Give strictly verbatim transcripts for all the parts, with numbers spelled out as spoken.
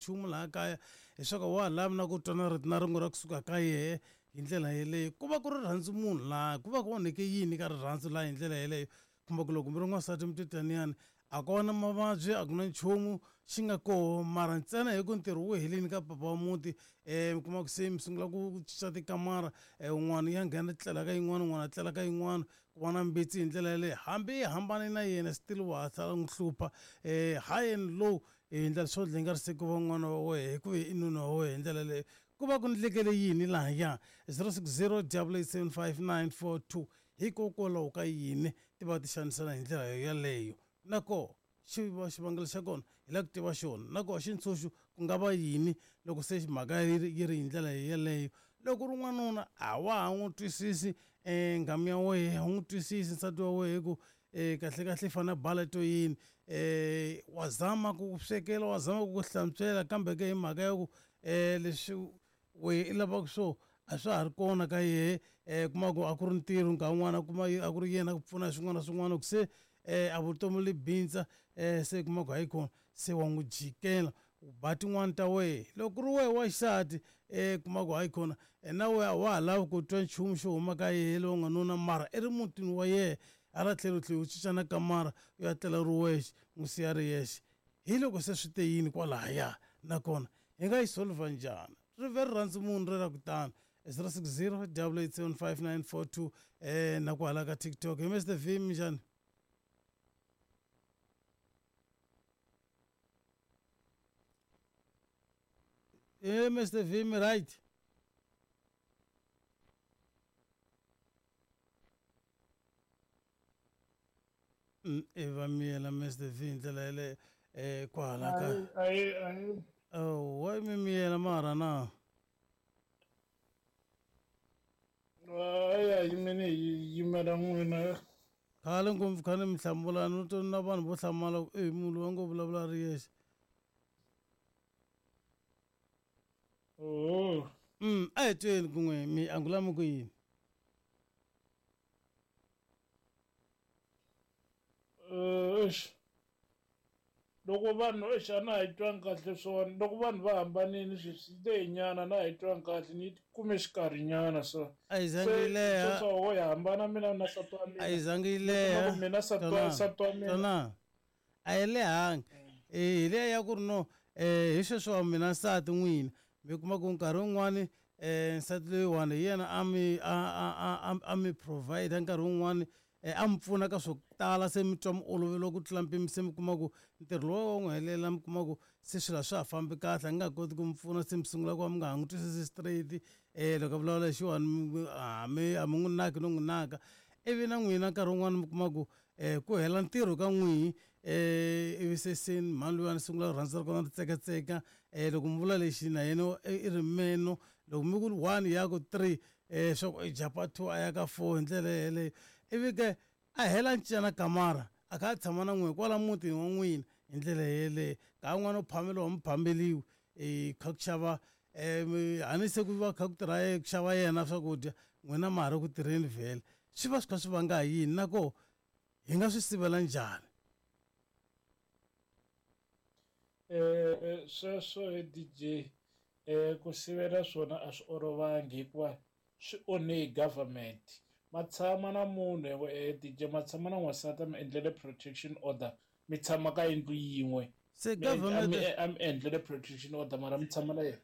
Nchumu laha kaya leswaku wa ha lavi na ku twa na rito na rin'we ra kusuka ka yehe hi ndlela yeleyo. Ku va ku ri rhandzu munhu laha, ku va ku onheke yini ka rirhandzu laha hi ndlela yeleyo. Kumbe ku loko mi ri n'wansati mi titaniyani a ko na mavabyi, a ku na nchumu xi nga koho, mara ntsena hi ku ntirho wu helini ka papa wa muti, um mi kuma ku se mi sungula ku cinca tikamara, um un'wana ya nghena tlela ka yin'wana, un'wana a tlela ka yin'wana, ku va na mbitsi hi ndlela yeleyo. Hambi yi hambane na yena still wa ha sala n'wi hlupha, um high and low hi ndlela swo dlaya nga ri se ku va n'wana wa wehe hikuva i nuna wa wehe hi ndlela yeleyo. Ku va ku ndlekele yini lahaya? zero six zero double eight seven five nine four two. Hikokwalaho ka yini ti va ti xanisana hi ndlela yeleyo? Na koho xi va xivangelo xa kona hi lava ku tiva xona. Na koho xintshunxo ku nga va yini loko se mhaka yi ri yi ri hi ndlela yeleyo? Loko ku ri n'wanuna a wa ha n'wi twisisi um nghamu ya wehe, a wu n'wi twisisi nsati wa wehe ku um kahle kahle i fanele a bala to yini, um wa zama ku ku swekela, wa zama ku ku hlantswela, kambe ke hi mhaka ya ku um leswi wehe i lavaka swo a swa ha ri kona ka yehe. um kuma ku a ku ri ntirho nkarhi wun'wani a kuma a ku ri yena ku pfuna swin'wana na swin'wana, ku se um a vutomi li bindza, um se kuma ku hayi kona se wa n'wi jikela u ba tin'wani ta wehe. Loko ku ri wehe wa xisati, um kuma ku hayi kona na wehe a wa ha lavi ku twa nchumu xo huma ka yehe lowu nga nuna, mara i ri mutini wa yehe, hala tlhelo u tlhela u cinca na kamara u ya tlela ri wexe, n'wi siya ri yexe. Hi loko se swi te yini kwalahaya, nakona hi nga yi solver njhani? Ri ve rirhandzu munhu ri ra ku tano. zero six zero double eight seven five nine four two, um na kwala ka TikTok. Hi Mister V, minjhani? Eh, Mister V, mi right? Mm, i va miyela Mister V hi ndlela yeleyo, um kwala ka Ayi, ayi. Oh, wa mi miyela mara na? Ayi, a yimeni hi yimela n'wina. Khale ngopfu khale mi hlamula, no to na vanhu vo hlamala ku, e munhu loyi a ngo vulavula a ri yexe. Oh. Mm, a hi tweni kun'we mi angula mi ku yini? Eh, eish. Loko vanhu, eish, a na ha yi twangi kahle swona. Loko vanhu va hambanile sweswi, yi lehe nyana, na ha yi twangi kahle, ni yi kume xikarhi nyana so. A yi zangi yi leha. Se sweswo ho hi hambana mina na nsati wa mina. A yi zangi yi leha. Loko mina nsati wa, Twana, nsati wa mina. twana. A yi lehangi. Eh, hi liya ya ku ri no, eh, hi sweswo wa mina nsati n'wina. Mi kuma ku nkarhi wun'wani, eh, nsati loyiwani hi yena a mi, a, a, a, a, a mi provide nkarhi wun'wani, eh, a mi pfuna ka swo tala, se mi twa mi oloveriwa ku tlula mpimo, se mi kuma ku ntirho lowu wa n'wi helela, mi kuma ku se swilo a swa ha fambi kahle, a nga koti ku mi pfuna, se mi sungula ku va mi nga ha n'wi twisisi straight. Eh, loko a vulavula lexiwani, mi, a mi, a mi n'wi naki no n'wi naka. Ivi na n'wina nkarhi wun'wani mi kuma ku, eh, ku hela ntirho ka n'wihi, eh, ivi se se mhani luya sungula rirhandzu ra kona ri tsekatseka. Eh, loko mi vula lexi na yena i ri meno, loko mi ku one ya ku three, eh, swa ku i jump-a two a ya ka four hi ndlela yeleyo. Ivi ke a hela ncena kamara, a kha a tshama na n'wina kwala mutini wa n'wina hi ndlela yeleyo. Nkarhi wun'wani u phameriwa mi phameriwi, eh, kha ku xava, eh, mi, a ni se ku va kha ku tirha ye, ku xava yena swakudya, n'wina ma ha ri ku tirheni vhele. Swi va swi kha swi vanga hi yini? Na koho hi nga swi sivela njhani? Eh, sweswo he D J, eh, ku sivela swona a swi olovangi hikuva swi onhe hi government. Ma tshama na munhu, eh, D J, ma tshama na n'wansati a mi endlele protection order, mi tshama ka yindlu yin'we. Se Mi endl-, a mi government e-, a mi endlele protection order, mara mi tshama na yena.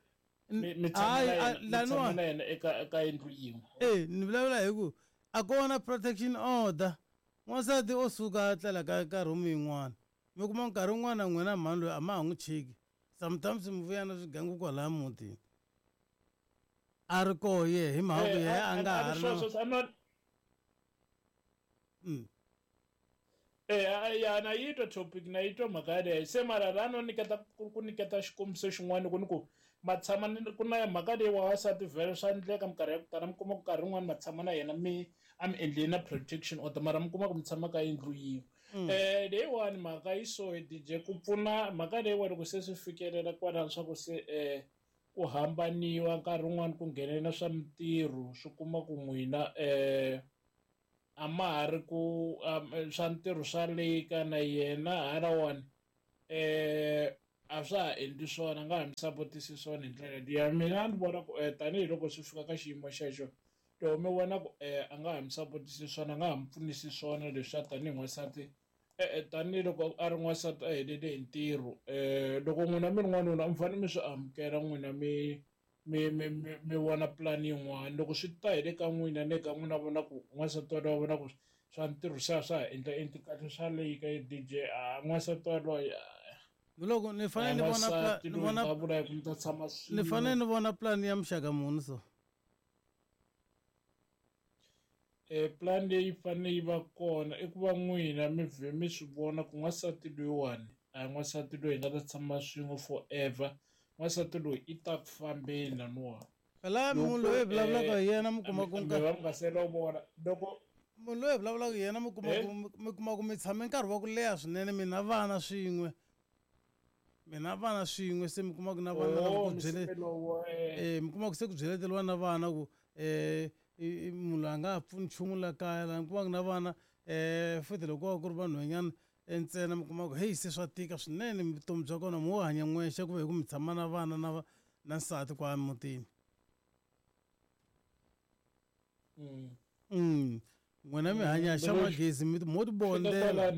N- Mi, mi tshama Hayi, na a, yena, mi laniwa. tshama na yena eka, eka yindlu yin'we. Eh, ni vulavula hi ku a ko na protection order. N'wansati o suka a tlela ka, ka room yin'wana. Mi kuma nkarhi wun'wana na n'wina mhani loyi a ma ha n'wi cheki. Sometimes mi vuya na swigangu kwalaya mutini. A ri koho ye, hi mhaka ku Eh, yehe a, a nga a, ha a ri na sweswo, a na Mm. Eh, a, ya, na yi twa topic, na yi twa mhaka yaleyo. Se mara la no nyiketa ku, ku nyiketa xikombiso xin'wana ku ni ku ma tshama ni, ku na mhaka leyi wa wansati vhele swa endleka minkarhi ya ku tala, mi kuma ku nkarhi wun'wani ma tshama na yena mi a mi endleli na protection order, mara mi kuma ku mi tshama ka yindlu yin'we. Mm. Eh, leyiwani mhaka yi so hi D J, ku pfuna mhaka leyiwani loko se swi fikelela kwalano swa ku se, eh, ku hambaniwa nkarhi wun'wani ku nghenelela swa mintirho, swi kuma ku n'wina, eh, a ma ha ri ku, um, swa ntirho swa leka na yena halawani, eh, a swa ha endli swona a nga ha mi sapotisi swona hi ndlela liya mina ni vona ku tanihiloko swi fika ka xiyimo xexo loko mi vona ku a nga ha mi sapotisi swona a nga ha mi pfunisi swona leswiya tanihi n'wansati e-e tanihiloko a ri n'wansati a helele hi ntirho um loko n'wina mi ri n'wanuna mi fanele mi swi amukela n'wina mi mi mi mi mi vona pulani yin'wana loko swi ta hi le ka n'wina ne ka n'wina vona ku n'wansati waloye vona ku swa ntirho se a swa ha endla endli kahle swa leyi ka D J a n'wansati waloye loko ni fanele ni vona ni vona vula ku mi ta tshama ni fanele ni vona pulani ya muxaka muni so e plan leyi fanele yi va kona i ku va n'wina mi vhe mi swi vona ku n'wansati loyiwani a hi n'wansati loyi hi nga ta tshama swin'we forever n'wansati loyi i ta ku fambeni laniwa phela munhu loyi hi vulavulaka hi yena mi kuma ku mi va mi nga se lovola loko munhu loyi hi vulavulaka hi yena mi kuma ku mi kuma ku mi tshame nkarhi wa ku leha swinene mi na vana swin'we mi na vana swin'we se mi kuma ku na vana lava ku byele eh mi kuma ku se ku byeleteriwa na vana ku eh munhu loyi a nga ha pfuni nchumu la kaya la mi kuma ku na vana um futhi loko va ku ri vanhwanyana ntsena mi kuma ku heyi se swa tika swinene vutomi bya kona mo hanya n'wexe ku ve hi ku mi tshama na vana na na nsati kwala mutini mm n'wina mi hanya xa magezi mi mo ti bondela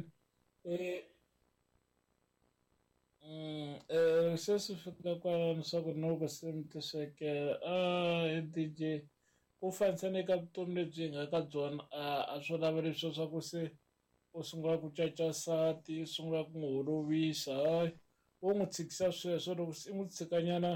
um se swi fika kwalano swa ku loko se mi ti swekela a D J ku fanisa ka vutomi lebyi hi nga ka byona a a swo lava leswiya swa ku se u sungula ku caca nsati u sungula ku n'wi holovisa hayi wo n'wi tshikisa sweswo loko se u n'wi tshikanyana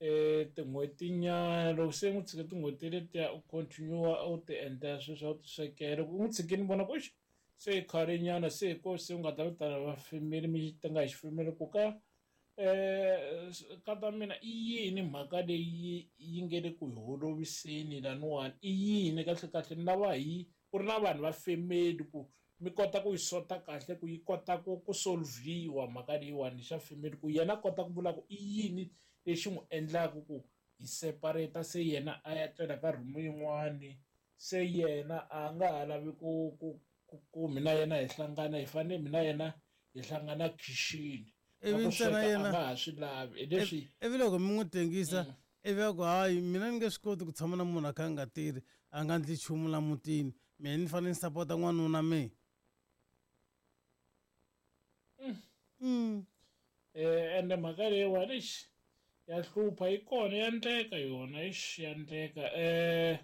um tin'hwetinyana loko se u n'wi tshike tin'hweti letiya u continue u ti endlela sweswiya u ti swekela loko u n'wi tshikini vona ku exi se i khalenyana se hi ko se u nga ta vitana va family mi tenga hi xifamily ku ka um nkata mina i yini mhaka leyi yi nge le ku hi holoviseni laniwani i yini kahlekahle ni lava hi ku ri na vanhu va family ku mi kota ku yi sota kahle ku yi kota ku ku solve-iwa mhaka leyiwani xa family ku yena a kota ku vula ku i yini lexi n'wi endlaka ku hi separate se yena a ya tlela ka room yin'wani se yena a nga ha lavi ku ku ku ku mina yena hi hlangana hi fanele mina yena hi hlangana khixini ivi ntsena yena a nga ha swi lavi hi leswi ivi loko mi n'wi tengisa ivi a ku hayi mina ni nge swi koti ku tshama na munhu a kha a nga tirhi a nga ndli nchumu la mutini mina ni fanele ni sapota n'wanuna me mm eh ende mhaka leyiwani ixi ya hlupha yi kona ya endleka yona ixi ya endleka eh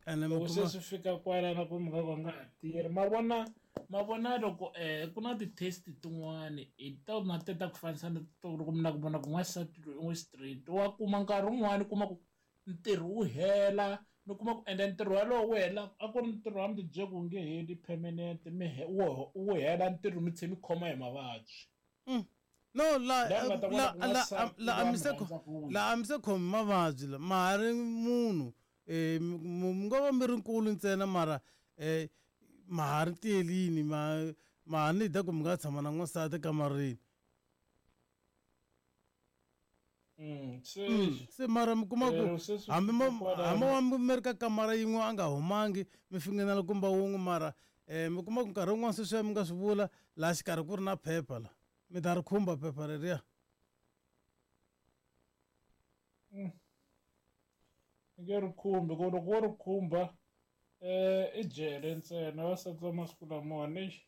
ene loko se swi fika kwalano ku mi nga ku nga ha tirhi ma vona ma vona loko um ku na ti-test tin'wani hi tona te ta ku fanisa na to loko mi na ku vona ku n'wansati loyi u n'wi straight wa kuma nkarhi wun'wani kuma ku ntirho wu hela mi kuma ku ende ntirho walowo wu hela a ku ri ntirho wa mi ti byele ku wu nge heli permanent mi wu wu hela ntirho mi tlhe mi khoma hi mavabyi no la la la la a mi se la a mi se khomi mavabyi la ma ha ri munhu um mi ngo va mi ri nkulu ntsena mara um ma ha ri tiyelini ma ma ha ni da ku mi nga tshama na n'wansati ekamareni se se mara mi kuma ku hambi mo hambi wa mi ri ka kamara yin'we a nga humangi mi fingenela kumba wun'we mara um mi kuma ku nkarhi wun'wana sweswiya mi nga swi vula laha xikarhi ku ri na phepha la mi ta ri khumba phepha reriya nge ri khumbi ku loko wo ri khumba um i jele ntsena vasati va masiku lamawani exi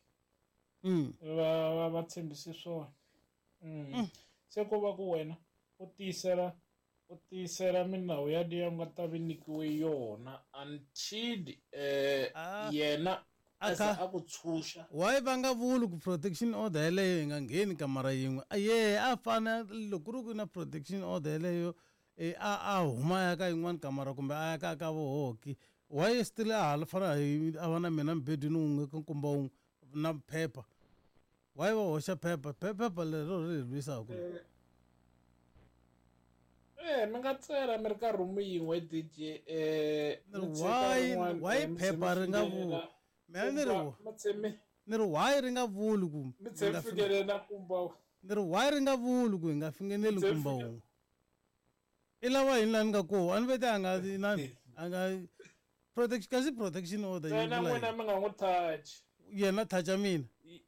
va va va tshembisi swona se ko va ku wena u tiyisela u tiyisela minawu yaliya u nga ta vi nyikiwe yona until um yena a za a ku tshunxa why va nga vuli ku protection order yeleyo yi nga ngheni kamara yin'we yehe a fane loko ku ri ku na protection order yeleyo e a a huma a ya ka yin'wana kamara kumbe a ya ka ka vohoki why still a ha fana a va na mina mubedweni wun'we ka nkumba wun'we na phepha why va hoxa phepha phepha lero ri hi lwisaka Eh mi nga tsela mi ri ka room yin'we D J eh why why phepha ri nga vuli mina ni ri ni ri why ri nga vuli ku mi tshe fikelela kumba ni ri why ri nga vuli ku hi nga fingeneli nkumba wun'we i lava yini laha ni nga koho a ni vete a nga inani a nga protection kasi protection order ntsena n'wina mi nga n'wi touch yena toucha mina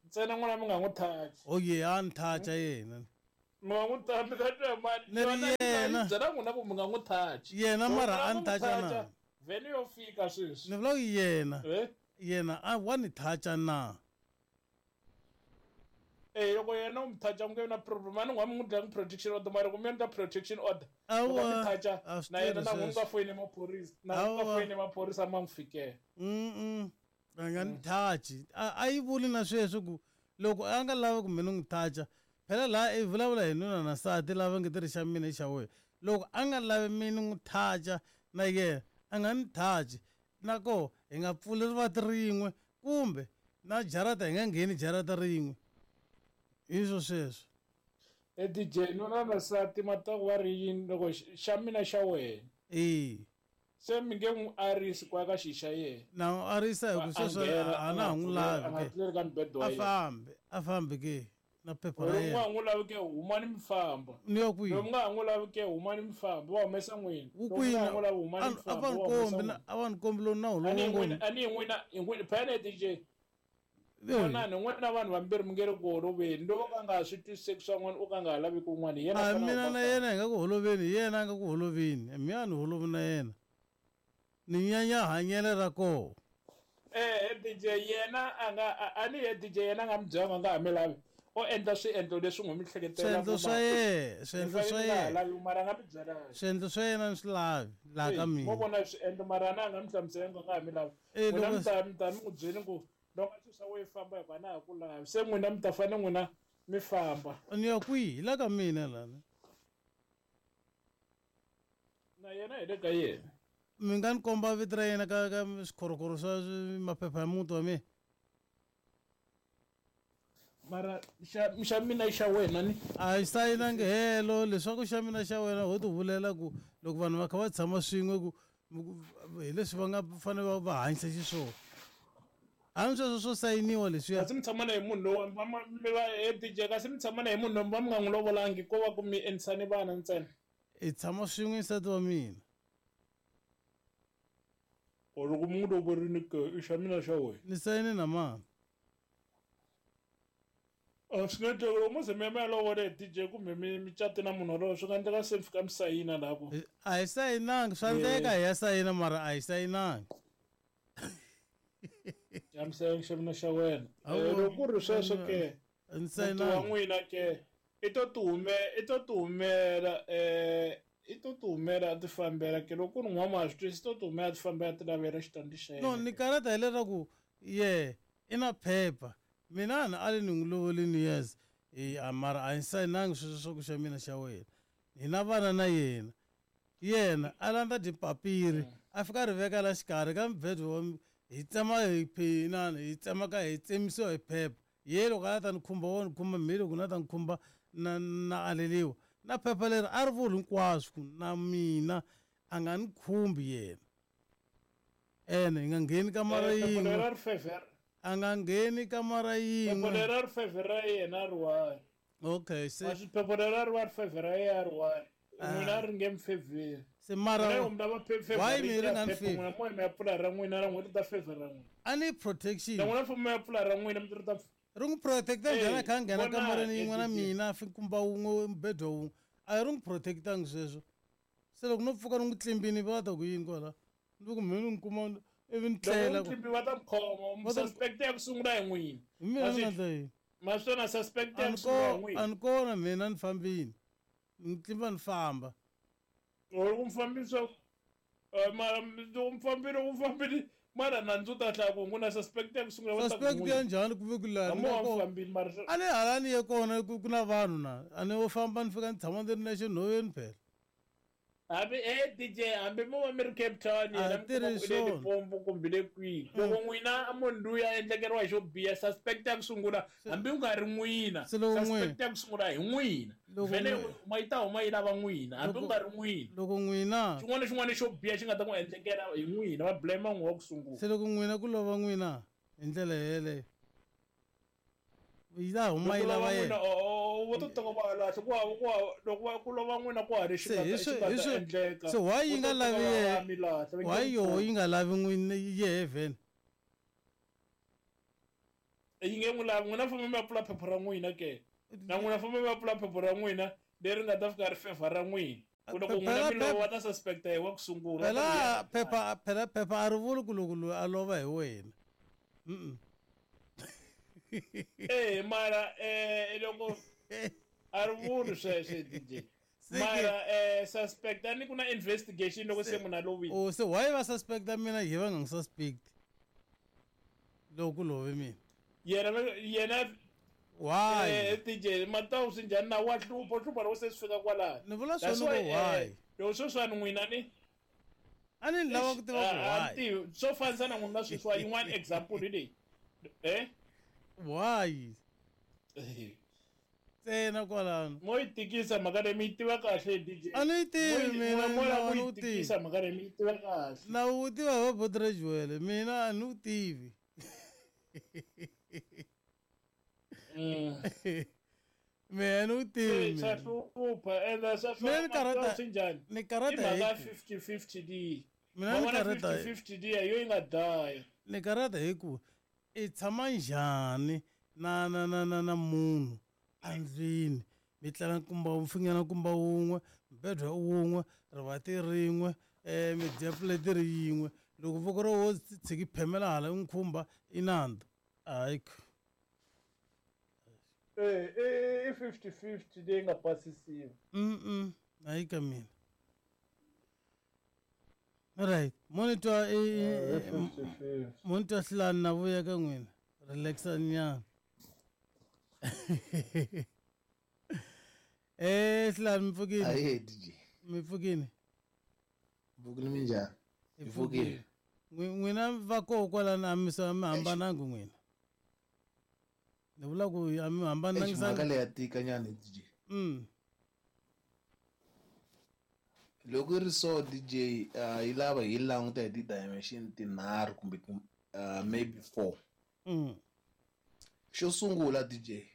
ntsena n'wina mi nga n'wi touch oh ye a ni toucha yena Mi nga n'wi ta mi ta twa mani Ni ri yena. Byela n'wina ku mi nga n'wi touch. Yena Loko mara mi a lava ni ku n'wi touch-a na. touch-a, vhele yo fika sweswi. Ni vula ku yena Eh? yena a wa ni touch-a na. Eh, loko yena u mi touch-a ku nge vi na problem. A ni n'wa mi n'wi dlaya protection order, mara ku mi endla protection order. Loko a mi Awa, touch-a, a swi na yena tirhi na n'wi sweswo. nga foyini maphorisa, na n'wi nga Awa. foyini maphorisa ma n'wi fikela. Mm-mm. A nga ni touch. A a yi vuli na sweswo ku loko a nga lavi ku mina n'wi touch-a, phela laha i vulavula hi nuna na nsati lava nge tirhi xa mina i xa wena. Loko a nga lavi mina n'wi touch-a na yena a nga ni touch. Na koho hi nga pfuli rivanti rin'we kumbe na jarata hi nga ngheni jarata rin'we. Hi swo sweswo. Eh, D J, nuna na nsati mataku va ri yini loko xa mina xa wena? E. Se mi nge n'wi arisi ku ya ka xi xa yena. Na n'wi arisa hi ku A sweswo nghena, a na ha n'wi lavi a nga ke. tleli ka mubedwa wa A yena. fambi, a fambi ke na phepha ra Loko u nga yena. ha n'wi lavi ke humani mi famba. Ni ya kwihi? Loko mi nga ha n'wi lavi ke humani mi famba, va humesa n'wina. Wu Loko mi kwihi nga ha na- n'wi lavi humani a mi a famba, va ni va humesa kombi na n'wina. a va ni kombi lowu nawu A ni lowu hi n'wina, ngo a ni hi n'wina, hi n'wina, phela D J. Ee. Vonani, n'wina vanhu vambirhi mi nge ri ku holoveni. Loko ka nga ha swi twisiseki swa n'wina, u ka nga ha lavi ku un'wana, hi yena A a fanele mina a na famba. yena hi nga ku holoveni, hi yena a nga ku holoveni. Mi a ni holovi na yena. Ni nyanya hanyelo ra koho. Eh, D J, yena a nga, a, a ni ye D J, yena a nga mi byelanga a nga ha mi lavi. O endla swiendlo leswi n'wi mi hleketelaka Swiendlo swa ma- yena, swiendlo Mi swa fanele mi nga ha yena. lavi, mara a nga mi byelanga. Swiendlo swa yena ni swi lavi laha ka Mo mina. vona swiendlo, mara a na a nga mi hlamuselanga a nga ha mi lavi. Eh, N'wina loko mi ta, mi ta mi n'wi byeli ku loko a swilo swa wena famba hikuva na ha ku lavi. Se n'wina mi ta fanele n'wina mi famba. Ni ya kwihi? Hi la ka mina lana. Na yena hi le ka yena. Mi nga ni komba vito ra yena ka ka swikhorokhoro swa maphepha ya muti wa mina? Mara xa, xa mina i xa wena ni? A yi sayinangi helo, leswaku xa mina xa wena ho ti vulela ku loko vanhu va kha va tshama swin'we ku hi leswi va nga fanele va va hanyisa xiswona. Hambi sweswo swo sayiniwa leswiya. Kasi mi tshama na hi munhu lowu va ma, mi va, eh, D J, kasi mi tshama na hi munhu lowu va mi nga n'wi lovolangi, ko va ku mi endlisane vana ntsena. Hi tshama swin'we nsati wa mina. Or loko mi n'wi lovorile ke, i xa mina xa wena. Ni sayine na mani? A swi nga endleka loko mo ze mi ya mi ya lovola hi D J kumbe mi, mi cate na munhu walowo, swi nga endleka se mi fika mi sayina laha ku. A hi sayinangi, swa endleka hi ya sayina mara a hi sayinangi. Ya mi sayina xa mina xa wena. Awu, Eh, loko ku ri sweswo ke, A ni muti wa sayinangi. n'wina ke, i to ti hume-, i to ti humela, eh, i to ti humela a ti fambela ke. Loko ku ri n'wa ma swi twisisi, i to ti humela a ti fambela a ti lavela xitandi xa No, yena ni ke. karata hileswaku ye i na phepha. Mina a ni ali ni n'wi lovolini yes. E, a mara a ni sayinangi sweswo swa ku xa mina xa wena. Hi na vana na yena. Yena a landza dipapiri, a fika a ri veka la xikarhi ka mubedwa wa mi-, hi tsema hi phinana, hi tsema ka hi tsemisiwa hi phepha. Ye loko a ta ni khumba wa ni khumba, me loko na ta ni khumba na, na aleliwa. Na phepha leri a ri vuli hinkwaswo ku na mina a nga ni khumbi yena. Ene hi nga ngheni kamara Eh, phepha yin'we. leri a ri favor. A nga ngheni kamara Phepha yin'we. leri a ri favor ra yena a ri one. Okay, se Ma swi phepha leri a ri va ri favor ra yena a ri one. N'wina a ri nge mi favor. Se mara N'wina loko mi lava pe-, favor why mi yi ri ta nga ni phepha, favor? n'wina mo mi ya pfula ra n'wina, ra n'wina ri ta favor ra n'wina. A ni protection. Na n'wina famba mi ya pfula ra n'wina, mi ri ta Ri n'wi protecta njhani a kha a nghena Hey, kamareni vona, yin'we na eh, mina, a fi kumba wun'we, mubedwa wun'we. A ri n'wi protectangi sweswo. Se loko no pfuka ni n'wi tlimbini va ta ku yini kwala? Ni ku mhe ni n'wi kuma ivi ni Loko tlela n'wi tlimbi va ta mi khoma, Va ta mi suspect ya ku sungula hi n'wina. Hi mina ni nga endla yini? Ma swi vona suspect ya A ni ku sungula hi ko-, n'wina. a ni kona mina ni fambini. Ni tlimba ni famba. Loko mi fambisa, eh, mara loko mi fambile, loko mi fambile, mara nandzu wu ta hlaya ku n'wina suspect ya ku sungula va ta ku Suspect ya n'wina. njhani ku ve ku laha ni Hambi nga wa mi kona? fambile, mara swi- A ni hala ni ye kona ku ku na vanhu na. A ni wo famba ni fika ni tshama ni ri nexe nhoveni phela. Hambi, eh, D J, hambi mo va mi ri Cape Town, A yena mi tirhi kuma ku i le swona. Limpopo kumbe le kwihi. Loko n'wina a munhu luya a endlekeriwa hi xo biha, suspect ya ku sungula, hambi ku nga ri n'wina, Se loko n'wina- suspect ya ku sungula hi n'wina. Loko Vhele n'wina- huma yi ta huma yi lava n'wina, hambi Loko- ku nga ri n'wina. Loko n'wina- Xin'wana na xin'wana xo biha xi nga ta n'wi endlekela hi n'wina, va blame n'wina wa ku sungula. Se loko n'wina ku lova n'wina hi ndlela yeleyo, yi ta huma yi Loko lava lova yena. n'wina, o, o, o, vo to teka va lahla, ku hava, ku hava, loko va ku lova n'wina ku hava lexi Se nga hi ta, xi swi- nga hi ta swi- endleka. se why yi Vo nga to teka lavi va yena? mi lahla, va nge Why ku yoho pfuni. yi nga lavi n'wina yehe vhele? Yi nge n'wi lavi, n'wina famba mi ya pfula phepha ra n'wina ke. Na n'wina famba mi ya pfula phepha ra n'wina leri nga ta fika ri fevha ra n'wina. Ku loko n'wina mi lova va ta suspecta hi wa ku sungula. Phela phepha phela phepha a ri vuli ku loko loyi a lova hi wena. Mm. Eh mara eh loko a ri vuli sweswo D J. Mara eh suspect a ni ku na investigation loko se munhu a lovile. Oh se why va suspecta mina hi va nga n'wi suspect? Loko ku love mina. Yena yena why? Eh D J matawu swi njhani na wa hlupha hlupha loko se swi fika kwalano. Ni vula swona ku why? Loko sweswiwani n'wina ni a ni lava ku tiva ku why. Swo fanisa na n'wina sweswiwa yin'wana example hi leyi. Eh? Why? Ntsena kwalano. Mo yi tikisa mhaka leyi mi yi tiva kahle D J. A ni yi tivi mina mo la ku yi tikisa mhaka leyi mi yi tiva kahle. Na wu tiva hi va Bodrajwele mina a ni wu tivi. Mina ni wu tivi. Swa hlupha ende swa hlupha swi njhani? Ni karata hi mhaka fifty fifty D. Mina ni karata fifty fifty D yo yi nga daya. Ni karata hi ku i tshama njhani na na na na na munhu andlwini mi tlala nkumba mfingana nkumba wun'we mbedwa wun'we rivati rin'we eh mi dya plate ri yin'we loko voko ro wo tshiki phemela hala n'wi khumba i nandzu hayi eh eh fifty fifty leyi nga pasisiwa. Mm mm hayi ka mina. Right monitor e monitor hlani na vuya ka n'wina relaxa nyana. Eh hlani mi pfukile. Ayi D J. Mi pfukile. Pfukile minjhani? Mi pfukile. N'wina va koho kwalano a mi sa mi hambananga n'wina. Ni vula ku a mi hambananga sa. Mhaka leyi ya tika nyana D J. Mm. Loko ri so D J yi lava hi languta hi ti-dimension tinharhu kumbe maybe four. Mm. Xo sungula D J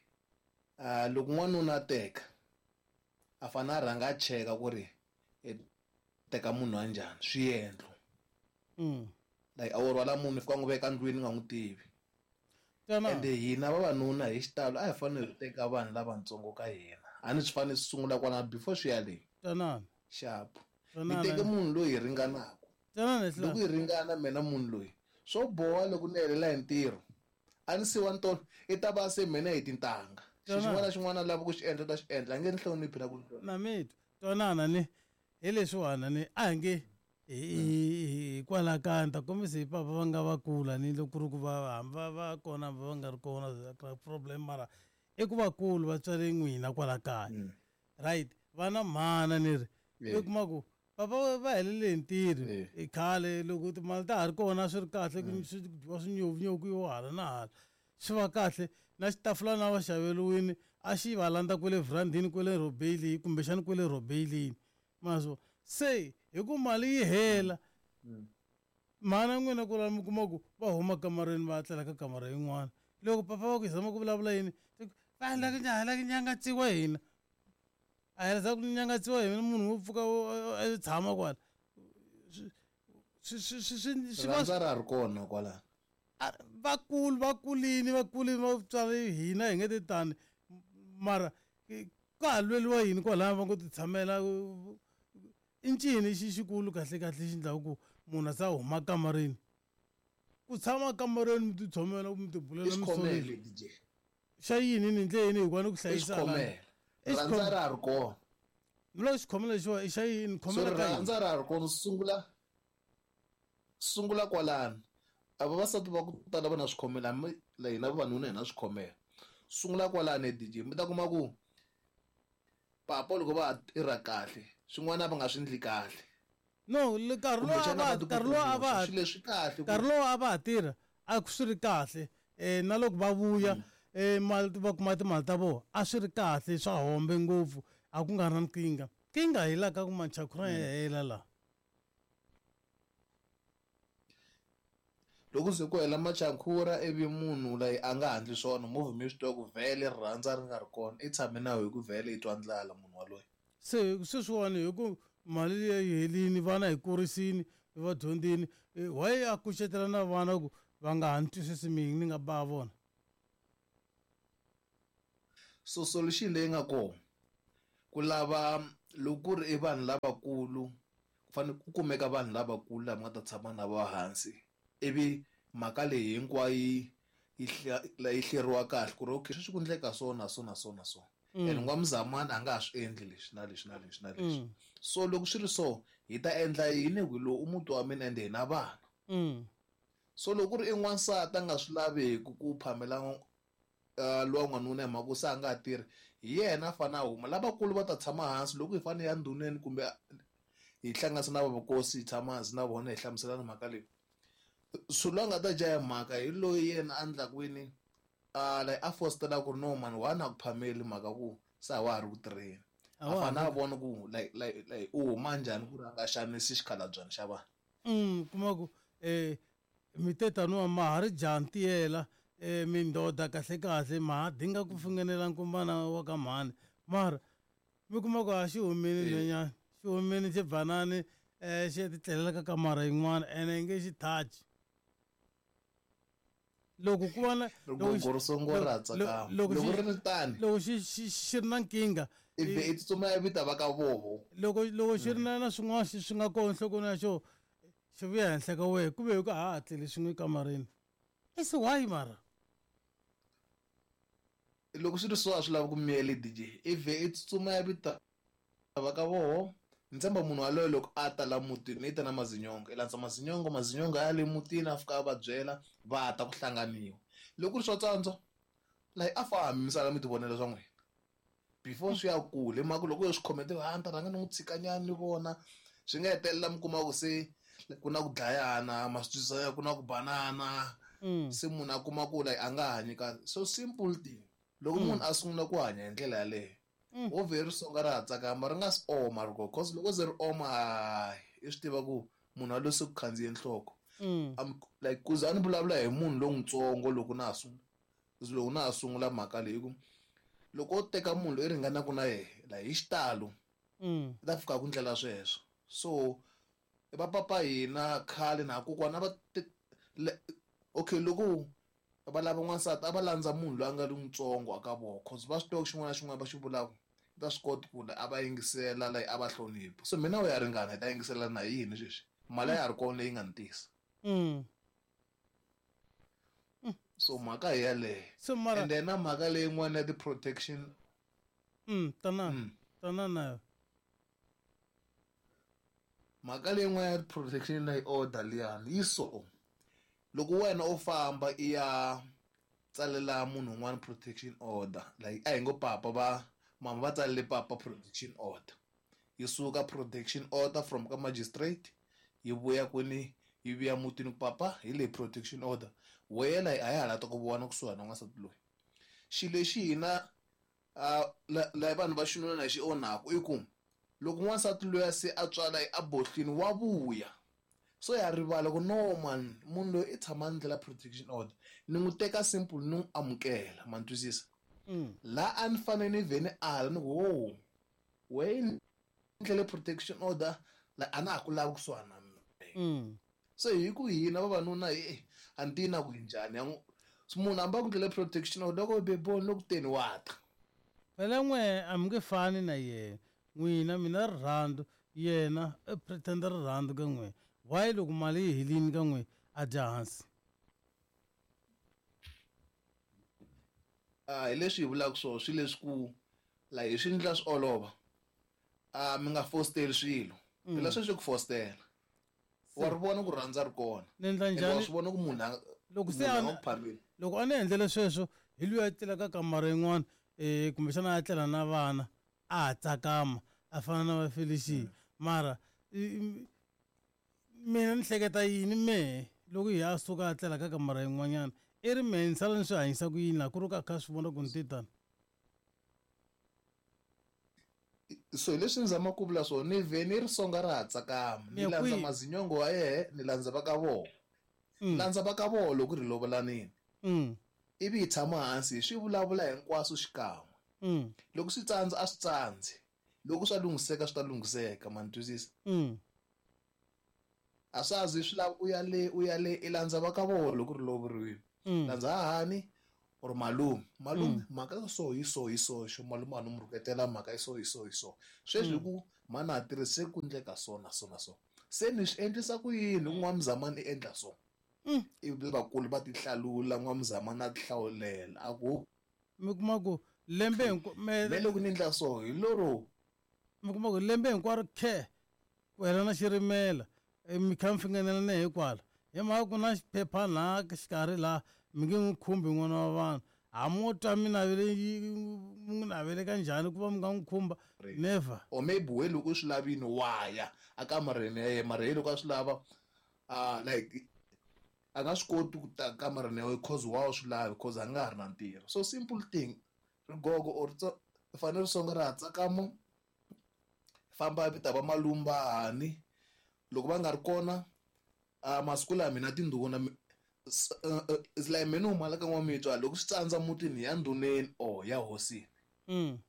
uh, loko n'wanuna a teka a fanele a rhanga a cheka ku ri teka munhu wa njhani swiendlo. Mm. Like a wo rhwala munhu fika n'wi veka ndlwini nga n'wi tivi. Ende hina vavanuna hi xitalo a hi fanele hi teka vanhu lavatsongo ka hina. A ni swi fanele swi sungula kwalano before swi ya le. Twanana. Xapu. Ni teke munhu loyi hi ringanaka. Loko hi ringana mina munhu loyi swo boha loko ni helela hi ntirho. A ni siwa ntolo i ta va se mina hi tintangha. Xin'wana na xin'wana lava ku xi endla ta xi endla a nge ni hloniphi na ku na mi twanana ni hi leswiwani ni a hi nge hikwalaho ka ni ta kombisa hi papa va nga va kula ni loko ku ri ku va hambi va va kona hambi va nga ri kona problem mara i ku vakulu va tswale n'wina kwala kaya. Right va na mhana ni ri i kuma ku papa va helele hi ntirho i khale loko timali ta ha ri kona swi ri kahle ku swi dyiwa swinyovunyovu yo hala na hala swi va kahle na xitafulana a va xaveriwini a xi va landza kwele vhurandini kwele Robeyili kumbexani kwele Robeyilini maswo se hi ku mali yi hela mhana n'wina ku mi kuma ku va huma kamareni va tlela ka kamara yin'wana loko papa va ku zama ku vulavula yini va la ku la ku nyangatsiwa hina a hi za ku nyangatsiwa hina munhu wo pfuka a tshama kwala swi swi swi swi va ra ri kona kwala vakulu va kulini va kulini va tswari hina hi nge ti tani mara ka ha lweliwa yini kwalaya va ngo ti tshamela i ncini xi xikulu kahle kahle xi endlaku ku munhu a sa huma kamareni ku tshama kamareni mi ti tshamela mi ti bulela mi xa yini ni ndle yini hikuva ni ku hlayisa rhandza ra ri kona ni loko xikhomela lexiwa i xa yini khomela ka rhandza ra ri kona sungula sungula kwalano a vavasati va ku tala va na swikhomela la hina vavanuna hi na swikhomela sungula kwalano D J mi ta kuma ku papa loko va tirha kahle swin'wana va nga swi endli kahle no nkarhi lowu a va nkarhi lowu a va swilo leswi kahle nkarhi lowu a va ha tirha a swi ri kahle um na loko va vuya um mali va kuma timali ta vona a swi ri kahle swa hombe ngopfu a ku nga ri na nkingha nkingha hi laha ka ku manchakhura ya hela laha loko se ku hela machakhura ivi munhu loyi a nga handli swona movha mi swi tiva ku vhele rirhandza ri nga ri kona i tshame na hi ku vhele i twa ndlala munhu waloye se sweswiwani hi ku mali liya yi helini vana hi kurisini va dyondzini why a kucetela na vana ku va nga ha ni twisisi mina ni nga ba vona So solution leyi nga kona ku lava loko ku ri i vanhu lavakulu ku fanele ku kumeka vanhu lavakulu lava nga ta tshama na va hansi ivi mhaka leyi hinkwayo yi yi hleriwa kahle ku ri okay sweswi ku endleka so na so na so na so and n'wamzamani a nga ha swi endli leswi na leswi na leswi na leswi so loko swi ri so hi ta endla yini ku lowu i muti wa mina ende hi na vana so loko ku ri i n'wansati a nga swi laveki ku phamela lowa n'wanuna hi mhaka ku se a nga ha tirhi hi yena a fanele a huma lavakulu va ta tshama hansi loko hi fanele ya ndhuneni kumbe hi hlanganisa na vakosi hi tshama hansi na vona hi hlamuselana mhaka leyi so loyi a nga ta dya hi mhaka hi loyi yena a endlaku yini a like a fositela ku ri no mani wa na ku phameli mhaka ku se a wa ha ri ku tirheni a fanele a vona ku like like like u huma njhani ku ri a nga xanisi xikhalabyana xa vanhu mm kuma ku eh mi te taniwa ma ha ri jaha ntiyela eh mindoda kahle kahle ma ha dinga ku fingenela nkumbana wa ka mhani mara mi kuma ku a xi humile nhwenyana xi humile xi banani eh xi ya titlelela ka kamara yin'wana ene i nge xi touch loko ku va na loko ri ri tani loko xi xi xi ri na nkingha ivi i tsutsuma i vita va ka voho loko loko xi ri na na swin'wana xi swi nga kona nhlokweni ya xo xi vuya henhla ka wehe ku ve hi ku ha ha tleli swin'we ekamareni i se why mara loko swi ri so a swi lavi ku miyela D J ivi i tsutsuma ya vita va ka voho ni tshemba munhu waloye loko a ta la mutini i ta na mazinyongo i landza mazinyongo mazinyongo ya le mutini a fika a va byela va ta ku hlanganiwa loko ku ri swa tsandza like a fambi mi sala mi ti vonela swa n'wina before swi ya kule hi mhaka loko yo swi khomete a ni ta rhanga ni n'wi tshikanyana ni vona swi nga hetelela mi kuma ku se ku na ku dlayana ma swi twisisa ku na ku banana se munhu a kuma ku like a nga hanyi kahle so simple thing loko munhu a sungula ku hanya hi ndlela yaleyo wo vhe ri songa ra ha tsakama ri nga si oma ri cause loko ze ri oma i swi tiva ku munhu a se ku khandziye nhloko like ku za ni vulavula hi munhu lontsongo loko na ha sungula loko na ha sungula mhaka leyi ku loko o teka munhu loyi ringanaka na yena like hi xitalo i ta fika ku ndlela sweswo so va papa hina khale na kokwana va okay loko va lava n'wansati a va landza munhu loyi a nga ri ntsongo aka vona cause va swi tiva ku xin'wana na xin'wana va xi vulaka ta swi kota ku a va yingisela like a va hlonipha so mina u ya ringana hi ta yingisela na yini sweswi mali ya ha ri kona leyi nga ni tisa so mhaka hi yaleyo so mara and then na mhaka leyin'wana ya ti-protection mm tana tana nayo mhaka leyin'wana ya protection leyi order liyani yi so loko wena u famba i ya tsalela munhu un'wana protection order like a hi ngo papa va mama va tsalele papa protection order yi suka protection order from ka magistrate yi vuya kwini yi vuya mutini ku papa hi leyi protection order wena a ya ha la ta ku vona kusuhani na n'wansati loyi xilo lexi hina la vanhu va xinuna na xi onhaku i ku loko n'wansati loyi se a tswala a bohlini wa vuya so ya rivala ku no man munhu loyi i tshama a ndlela protection order ni n'wi teka simple ni n'wi amukela ma ni twisisa laha a ni fanele ni vhe ni ala ni ku wo we ndlele protection order la a na ha ku lavi kusuhani na mina so hi ku hina vavanuna hi a ni tivi na ku hi njhani ya munhu hambi a ku ndlele protection order loko beboni loko teni wa ta phela n'we a mi nge fani na yena n'wina mina rirhandzu yena i pretender rirhandzu ka n'we why loko mali yi helini ka n'we a dya hansi a hi leswi hi vulaka swona swilo leswi ku la hi swi endla swi olova a mi nga fosteli swilo phela sweswi ku fostela wa ri vona ku rhandza ri kona ni endla njhani wa swi vona ku munhu a loko se a loko a ni endlele sweswo hi luya a tlela ka kamara yin'wana um kumbexana a tlela na vana a ha tsakama a fana na va Felicia mara mina ni hleketa yini mehe loko hi a suka a tlela ka kamara yin'wanyana i ri mehe ni sala ni swi hanyisa ku yini laha ku ri ka kha swi vona ku ni te tani so hi leswi ni zamaka ku vula swona ni vhe ni ri songa ra ha tsakama ni landza mazinyongo wa yehe ni landza va ka vona landza va ka vona loko ri lovolanini ivi hi tshama hansi hi swi vulavula hinkwaswo xikan'we loko swi tsandza a swi tsandzi loko swa lunghiseka swi ta lunghiseka ma ni twisisa a swa zi swi lava u ya le u ya le i landza va ka vona loko ri lovoriwile landza hahani Or malume malume mhaka so hi so hi so xo malume a ni mu rhuketela mhaka yi so hi so hi so sweswi hi ku mhani a tirhise ku endleka so na so na so se ni swi endlisa ku yini ku n'wamuzamani i endla so ivi vakulu va ti hlalula n'wamuzamani a ti hlawulela a ku mi kuma ku lembe hinkwa me me loko ni endla so hi loro mi kuma ku lembe hinkwaro khe ku hela na xirimela mi kha mi fingenelana hikwala hi mhaka ku na xiphephana xikarhi laha mi nge n'wi khumbi n'wana wa vanhu hambi twa mi navele mi n'wi navele ka njhani ku va mi nga n'wi khumba never or maybe we loko u swi lavini wa ya a kamareni ya yena mara hi loko a swi lava uh, like a nga swi koti ku ta kamareni ya wena cause wa swi lavi cause a nga ha ri na ntirho so simple thing rigogo or fanele ri songa ra ha tsakama famba vita va malumba hani loko va nga ri kona uh, masiku lawa mina tindhuna is like mina huma la ka n'wamitwa loko swi tsandza mutini ya ndhuneni or ya hosini mm.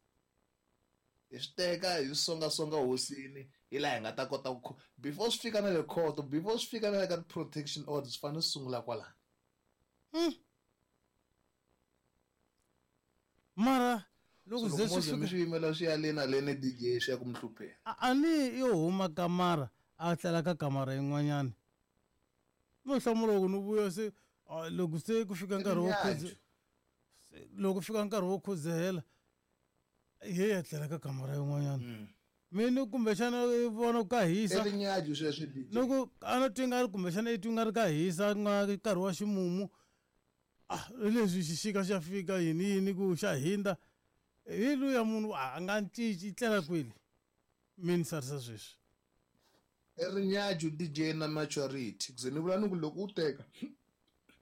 hi swi teka hi songasonga hosini hi laha hi nga ta kota ku before swi fika na le court before swi fika na le ka protection order swi fanele swi sungula kwalano mm. mara loko ze swi fika swi yimela swi ya le na le ni D J swi ya ku mi hlupheni a ni yo huma kamara a tlela ka kamara yin'wanyana no hlamula loko ni vuya se loko se ku fika nkarhi wo khudze loko fika nkarhi wo khudzehela ye ya tlela ka kamara yin'wanyana mina kumbexana i vona ka hisa loko a no twi nga ri kumbexana i twi nga ri ka hisa nga nkarhi wa ximumu ah leswi xixika xa fika yini yini ku xa hindza hi luya munhu a nga cinci i tlela kwini mi ni sarisa sweswi i rinyaju D J na maturity ku ze ni vula ni ku loko u teka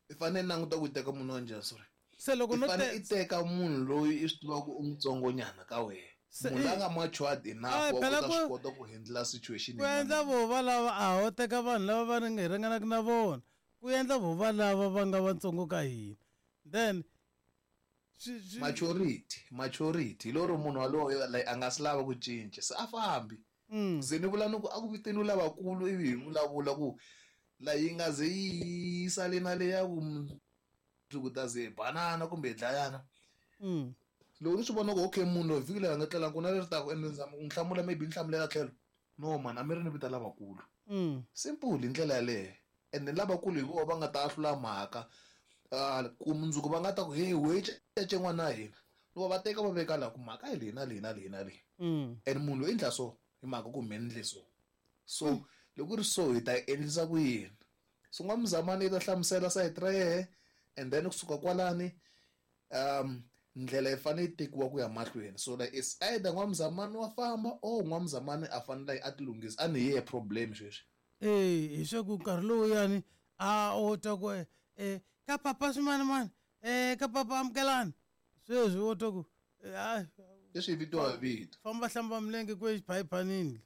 i fanele languta ku teka munhu wa njhani sorry se loko no te i teka munhu loyi i swi tivaka u mutsongonyana ka wena munhu la nga matured enough wa ku ta swi kota ku handle situation ku endla vo va lava a ho teka vanhu lava va ri hi ringanaka na vona ku endla vo va lava va nga vatsongo ka hina then maturity maturity loro munhu waloye like a nga swi lava ku cinca se a fambi ze ni vula ni ku a ku viteniwi lavakulu ivi hi vulavula ku la yi nga ze yi sale na le ya ku mundzuku ta ze hi banana kumbe hi dlayana loko ni swi vona ku okay munhu loyi vhiki leri a nga tlelangi ku na leri taka ende ni zama ku n'wi hlamula maybe ni hlamulela tlhelo no man a mi ri ni vita lavakulu simple hi ndlela yaleyo and then lavakulu hi vona va nga ta ahlula mhaka ku mundzuku va nga ta ku hey we cece n'wana wa hina loko va teka va veka laha ku mhaka hi leyi na leyi na leyi na leyi and munhu loyi endla so hi mhaka ku mi endle so so loko ri so hi ta endlisa ku yini so n'wamuzamani yi ta hlamusela sayiti ra yehe and then kusuka kwalani um ndlela yi fanele yi tekiwa ku ya mahlweni so like it's either n'wamuzamani wa famba or n'wamuzamani a fanele a ti lunghisa a ni ye problem sweswi eh hi swa ku nkarhi lowuyani a o twa ku eh ka papa swimanimani eh ka papa amukelani sweswi wo twa ku a leswi vitiwa hi vito famba hlamba milenge ku exiphayiphanini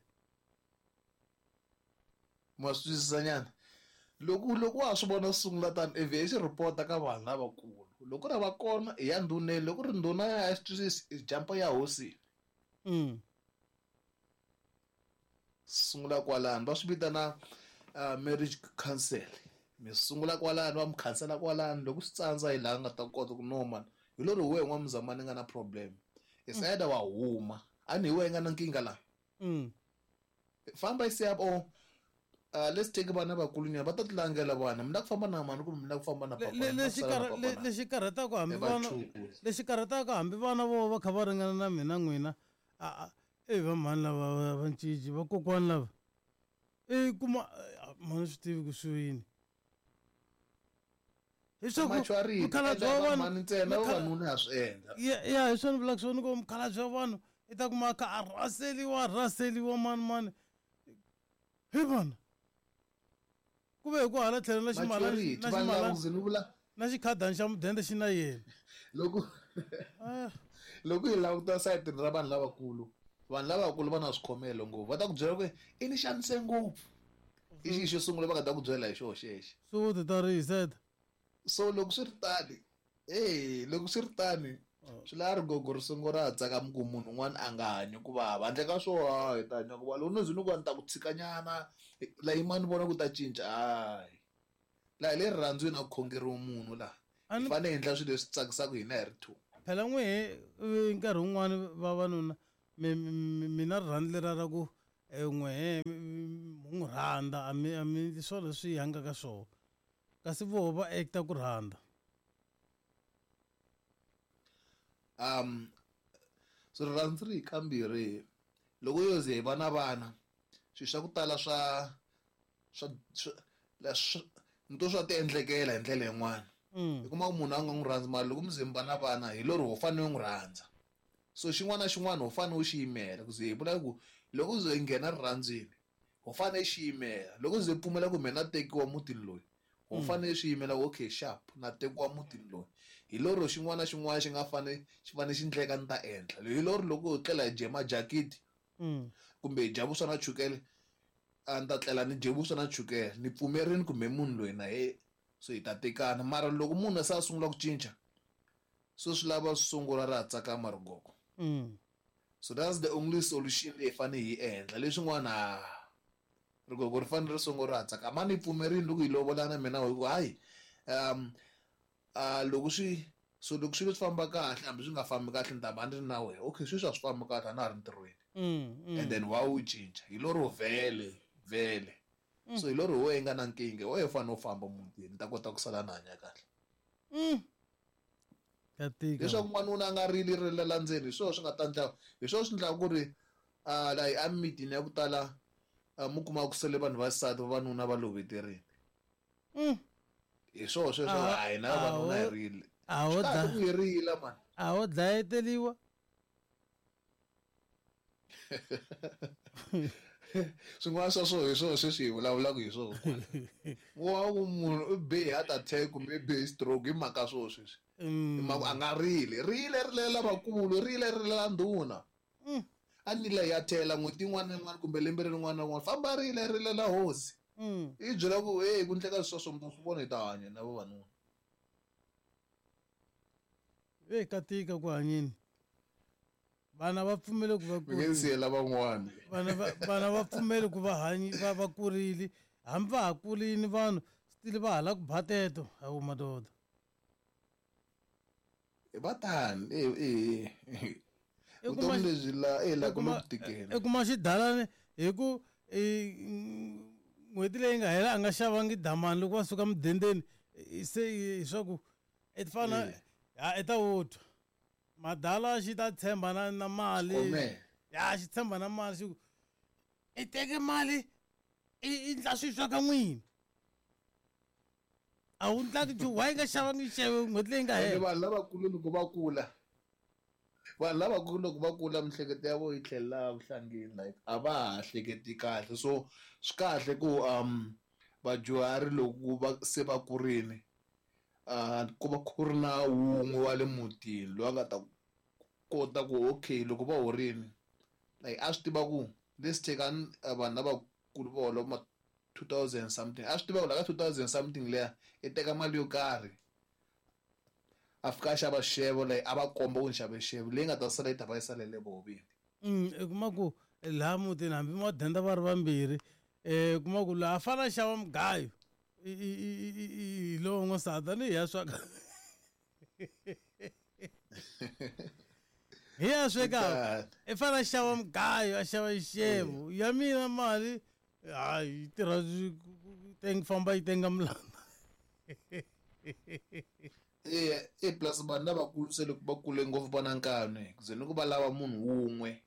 ma swi twisisanyana loko loko wa swi vona sungula tani ivi i xi ripota ka vanhu lavakulu loko ri va kona i ya ndhuneni loko ri ndhuna ya swi twisisi i jampa ya hosini mm. sungula kwalano va swi vitana uh, marriage council mi sungula kwalano va mi khansela kwalano loko swi tsandza hi laha nga ta kota ku no man hi lori wehe n'wamuzamani nga na problem it's either wa huma a ni hi wehe nga na nkingha laha mm. famba i siya o Uh, let's take vana vakulunyana va ta ti langela vana mi la ku famba na mani kumbe mi la ku famba na papa lexi lexi karhataka hambi vana lexi karhataka hambi vana vo va kha va ringana na mina n'wina a e va mhani lava va cinci vakokwani lava i kuma mhani swi tivi ku swi yini hiswaku wa vanhu ntsena vavanuna ya swi endla ya hi swona vulaka swona ku mukhalabye wa vanhu i ta kuma kha a rhaseliwa rhaseliwa mani mani hi vona ku ve hi ku hala tlhelo na ximalana na ximalana na xikhadani xa mudende xi na yena loko loko hi languta sayitini ra vanhu lavakulu vanhu lavakulu va na swikhomelo ngopfu va ta ku byela ku i ni xanise ngopfu i xi xo sungula va nga ta ku byela hi xoho xexo swo ti ta rihiseta so loko swi ri tani e loko swi ri tani swi lava rigogo ri sungula ra ha tsakama ku munhu un'wana a nga hanyi ku vava handle ka swo ha hi ta hanya ku vava loko no ze ni ku a ni ta ku tshikanyana la yimani vona ku ta cinca hayi laha hi le rirhandzwini a ku khongeriwi munhu laha Hi fanele hi endla swilo leswi tsakisaka hina hi ri two. Phela n'we nkarhi wun'wani vavanuna mina rirhandzu leriya ra ku n'wehe mu n'wi rhandza a mi a mi swona leswi hi hangaka swona kasi voho va acta ku rhandza. Um so rirhandzu ri hi kambirhi loko yo ze hi va na vana swilo swa ku tala swa swa swa nto swa ti endlekela hi ndlela yin'wana. I kuma ku munhu a nga n'wi rhandzi mara loko mi ze mi va na vana hi lero ho fanele u n'wi rhandza. So xin'wana na xin'wana ho fanele u xi yimela ku ze hi vula ku loko ze hi nghena rirhandzwini ho fanele xi yimela loko ze pfumela ku mina na tekiwa mutini loyi ho fanele swi yimela okay sharp na tekiwa mutini loyi hi lero xin'wana na xin'wana xi nga fane xi fanele xi ndleka ni ta endla hi lero loko ho tlela hi dye majakiti kumbe hi dya vuswa na chukele a ni ta tlela ni dye vuswa na chukele ni pfumerini kumbe munhu loyi na ye so hi ta tekana mara loko munhu se a sungula ku cinca so swi lava swi sungula ra ha tsakama rigogo. So that's the only solution leyi fanele hi endla leswin'wana rigogo ri fanele ri sungula ra ha tsakama ni pfumerini loko hi lovolana mina hi ku hayi um a loko swi so loko swilo swi famba kahle hambi swi nga fambi kahle ni ta va ni ri na wena okay sweswi a swi fambi kahle a na ha ri ntirhweni and then wa wu cinca hi lero vhele vhele so hi lero wehe nga na nkingha wehe u fanele u famba mutini ni ta kota ku sala ni hanya kahle. Leswaku n'wanuna a nga rili rilela ndzeni hi swona swi nga ta endla hi swona swi endlaka ku ri a la emimitini ya ku tala mi kuma ku sele vanhu va xisati vavanuna va loveterini. Hi swona sweswo a hina vavanuna hi rile a ho kahle ku hi rila mani a ho dlayeteriwa swin'wana swa swona hi swona sweswi hi vulavulaka hi swona wa ku munhu u be hi heart attack kumbe i be hi stroke hi mhaka swona sweswi hi mhaka a nga rili rile rilela vakulu rile rilela ndhuna a ni leyi ya thela n'hweti yin'wana na yin'wana kumbe lembe rin'wana na rin'wana famba rile rilela hosi i byela ku hey ku ndleka sweswo mi ta swi vona hi ta hanya na vavanuna. Ve ka tika ku hanyeni vana va pfumele ku va mi nge siyela van'wana vana va vana va pfumele ku va hanyi va va kurile hambi va ha kurini vanhu still va hala ku bateto hawu madoda va tani e e vutomi lebyi la e la ku ku tikela i kuma xidalani hi ku n'hweti leyi nga hela a nga xavangi damani loko va suka mudendeni se hi swa ku i fana ha i ta wu twa madala xi ta tshemba na na mali ya xi tshemba na mali xi ku i teke mali i endla swilo swa ka n'wina a wu ndlaki nchumu why nga xavangi xeve n'hweti leyi nga hela. Vanhu lavakulu loko va kula vanhu lavakulu loko va kula miehleketo ya vona yi tlhelela vuhlangeni like a va ha hleketi kahle so swi kahle ku um vadyuhari loko va se va kurini uh ku va ku ri na wun'we wa le mutini loyi a nga ta kota ku okay loko va horini like a swi tiva ku let's take vanhu lavakulu va hola ma two thousand something a swi tiva ku la ka two thousand something leya i teka mali yo karhi a fika a xava xixevo like a va komba ku ni xave xixevo leyi nga ta sala yi ta va yi salele voho vini. I kuma ku laha mutini hambi madenda va ri vambirhi um kuma ku laha a fanele a xava mugayo hi lowo n'wansati ni hi ya sweka hi ya swekaka i fanele a xava mugayo a xava xixevo ya mina mali hayi yi tirha teng famba yi tenga mulanda. E e plus vanhu lavakulu se loko va kule ngopfu va na nkani ku ze ni ku va lava munhu wun'we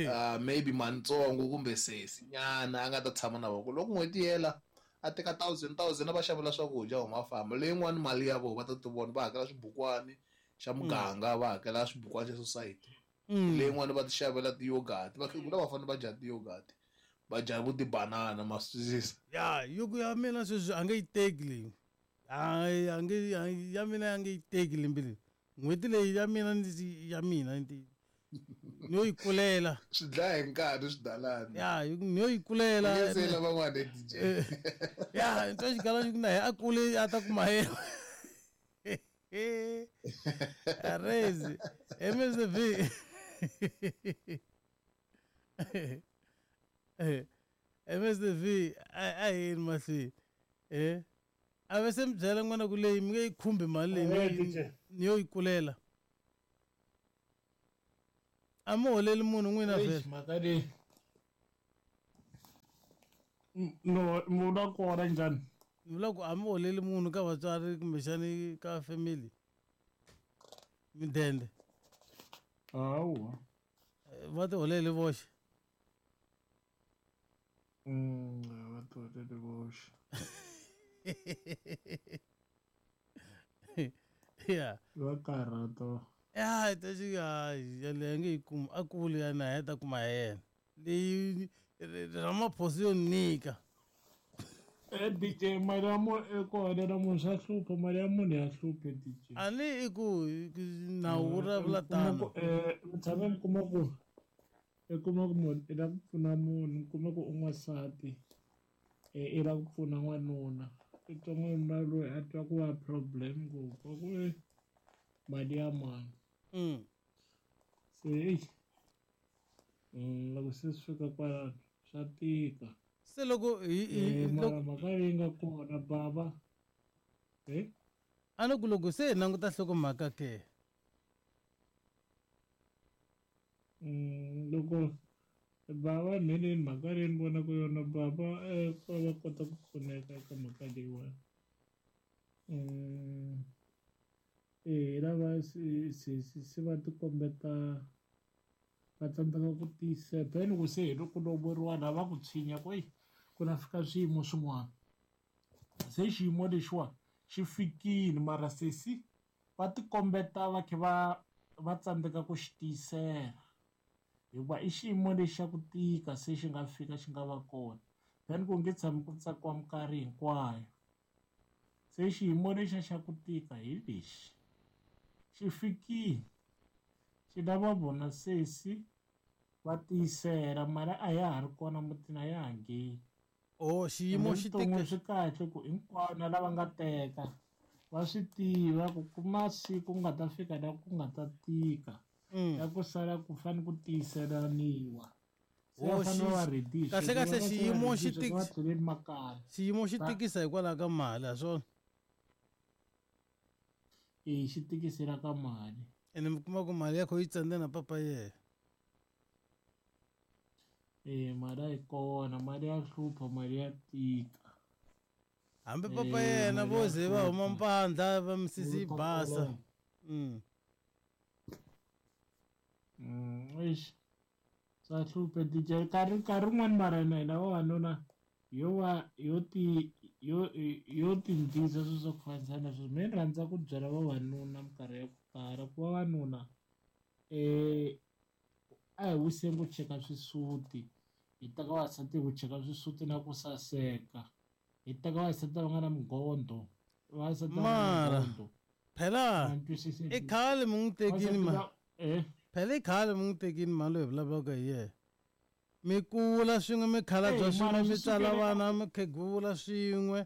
uh maybe mantsongo kumbe sesi nyana a nga ta tshama na vona loko n'hweti yi hela a teka thousand thousand a va xavela swakudya huma a famba leyin'wani mali ya vona va ta ti vona va hakela swibukwani xa muganga va hakela swibukwani xa society leyin'wani va ti xavela ti-yogurt vakhegula va fanele va dya ti-yogurt va dya vo tibanana ma swi twisisa. Ya yo ku ya mina sweswi a nge yi teki leyi hayi a nge ya mina ya nge yi teki lembe leyi n'hweti leyi ya mina ndzi ya mina ni yo yi kulela swi dlaya hi nkarhi swidalani ya ni yo yi kulela nge sela van'wana D J ya ni twa xigala xi ku na hi a kule a ta kuma yena arezi M S V M S V a yini mahlweni eh A ve se mi byela n'wana ku leyi mi nge yi khumbi mali leyi Eh, ni D J. ni yo yi kulela. A mi holeli munhu n'wina Eish, vhele. mhaka leyi Mm, no mi vula kona njhani Ni vula ku a mi holeli munhu ka vatswari kumbexani ka family. Midende. hawa Eh, Va ti holeli voxe. Mm, va tiholeli voxe Yeah. va karhata Ya ta xi hayi yaleyo nge yi kumi a kuli ya na ya ta kuma ya yena. Leyi Ramaphosa yo nyika. Eh, D J mali ya munhu i ku holela munhu swa hlupha mali ya munhu ya hlupha D J A ni i ku i ku nawu wu Mm, vulavula mi kuma ku tano. eh, mi tshame mi kuma ku i kuma ku munhu i lava ku pfuna munhu mi kuma ku u n'wansati eh, i lava ku pfuna n'wanuna i twa n'wanuna loyi a twa ku va problem ngopfu a ku e mali ya mani Mm. se eyi mm, loko se swi fika kwalano swa tika Se loko hi hi Eh, mara loko mhaka leyi nga kona bava eh a ni ku loko se hi languta nhlokomhaka ke. Mm, loko bava mheleni mhaka leyi ni vonaka yona bava eh, va va kota ku pfuneka eka mhaka leyiwani mm, eh lava se se se se va tikombeta va tsandzeka ku tiyisela then ku se hi loko lovoriwa laha va ku tshinya ku eyi ku na fika swiyimo swin'wana se xiyimo lexiwa xi fikile mara sesi va tikombeta va kha va va tsandzeka ku xi tiyisela hikuva i xiyimo lexi xa ku tika se xi nga fika xi nga va kona then ku nge tshami ku tsakiwa minkarhi hinkwayo se xiyimo lexiya xa ku tika hi lexi xi fikile xi lava vona sesi va tiyisela mali a ya ha ri kona mutini a ya ha ngheni Oh xiyimo ende xi vuton'wini tika swi kahle ku hinkwavo na lava nga teka va swi tiva ku ku masiku ku nga ta fika la ku nga ta tika Mm. ya ku sala ku fane ku tiyiselaniwa se va Oh fanele xi va ready hi kahle sweswo kahle va va se va xiyimo ready xi hi sweswo va tik tlheleni makaya xiyimo xi va tikisa hikwalaho ka mali ha swona. e xi tikisela ka mali Ene mi kuma ku mali ya kho yi tsandze na papa yena. e mali a yi kona mali ya hlupha mali ya tika Hambi papa e yena mali vo ya ze va huma hlupha mpandla va misisi yi yi basa. ta Mm. Mm, eish swa hlupha D J nkarhi nkarhi wun'wani mara hina hina vavanuna yo va yo ti yo yo tindzisa swilo swa ku fanisa na sweswo me ni rhandza ku byela vavanuna minkarhi ya ku tala ku vavanuna eh a hi wiseni ku cheka swisuti hi teka vavasati hi ku cheka swisuti na ku saseka hi teka vavasati lava nga na minghondo vavasati lava nga na Mara minghondo phela ma ni twisisi i khale mi n'wi tekini vavasati ma va eh phela i khale mi n'wi tekini mali loyi hi vulavulaka hi yena. Mi kula swin'we mi khalabya Eh, swin'we mara mi swi tswala sukela eka vana mi khegula swin'we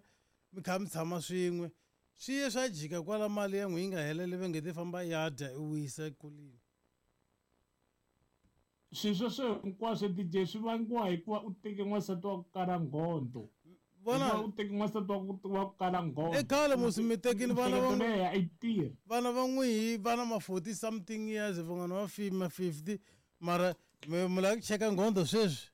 mi kha mi tshama swin'we swi ye swa jika kwala mali ya n'wi yi nga heleli va nge ti famba ya dya i wisa ekuleni. swilo sweswo hinkwaswo D J swi vangiwa hikuva u teke n'wansati wa ku kala nghondo Vona hikuva u teke n'wansati wa ku wa ku kala i nghondo khale musi mi tekini vana va miehleketo n'wi leyi a yi tirhi vana va n'wihi va na ma forty something years van'wana va fi ma fifty mara mi mi lava ku cheka nghondo sweswi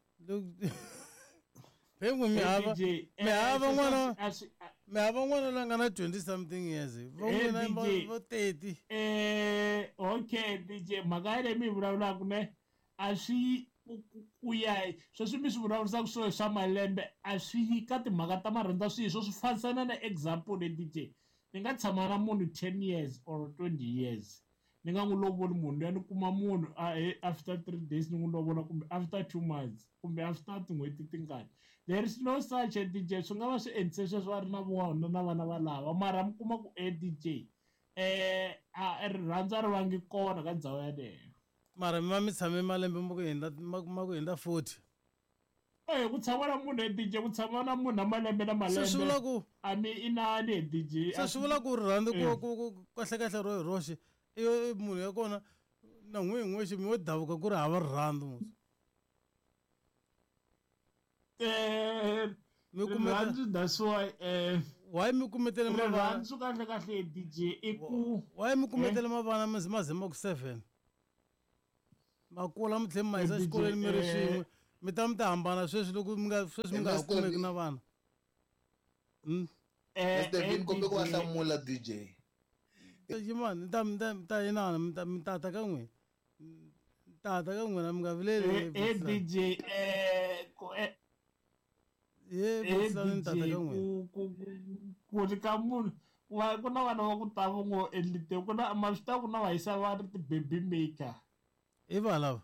phengu mi Eh, hava D J mi eh hava sweswo n'wana a swi a swi mi hava n'wana loyi a nga na twenty something years va eh n'wina va D J vo thirty eh okay D J mhaka yaleyo mi yi vulavulaka ne a swi ku ku- ku ya hi sweswi mi swi vulavurisaka swo swa malembe a swi yi ka timhaka ta marhandza swihi swo swi fambisana na example le D J ni nga tshama na munhu ten years or twenty years ni nga n'wi lovoli munhu luya ni kuma munhu a eh, after three days ni n'wi lovola kumbe after two months kumbe after tin'hweti tingani there is no such a D J swi nga va swi endlise sweswo a ri na vona na vana valava mara mi kuma ku e D J eh a rirhandzu a ri vangi kona ka ndhawu yaleyo mara mi va mi tshame malembe ma ku hundza ma ma ku hundza forty Eh ku tshama na munhu e D J ku tshama na munhu na malembe na se swi malembe vula ku a mi inani e D J se a swi vula ku rirhandzu ku eh ku ku kahlekahle ro hi roxe i i munhu ya kona na n'wi hi n'wexe mi wo davuka ku ri hava rirhandzu musi eh mi kumeka rirhandzu that's why eh Why mi kumetele mavana? Rirhandzu kahle kahle D J i ku why mi kumetele mavana mi ma ze ma ku seven? Makula mi tlhela mi ma yisa xikolweni mi ri swin'we mi ta mi ta hambana sweswi loko mi nga sweswi mi nga ha kumeki na vana. Mm. Mister Vin kombe ku va hlamula D J. Yimani ta ta ta inana mi ta mi tata ka n'wina. Tata ka n'wina mi nga vileli. Eh D J eh ku eh ye tata ka n'wina. Ku ku ri ka munhu wa ku na vana va ku ta vo ngo endlite ku na ma swi ta ku na va yisa va ri ti-baby maker. I va lava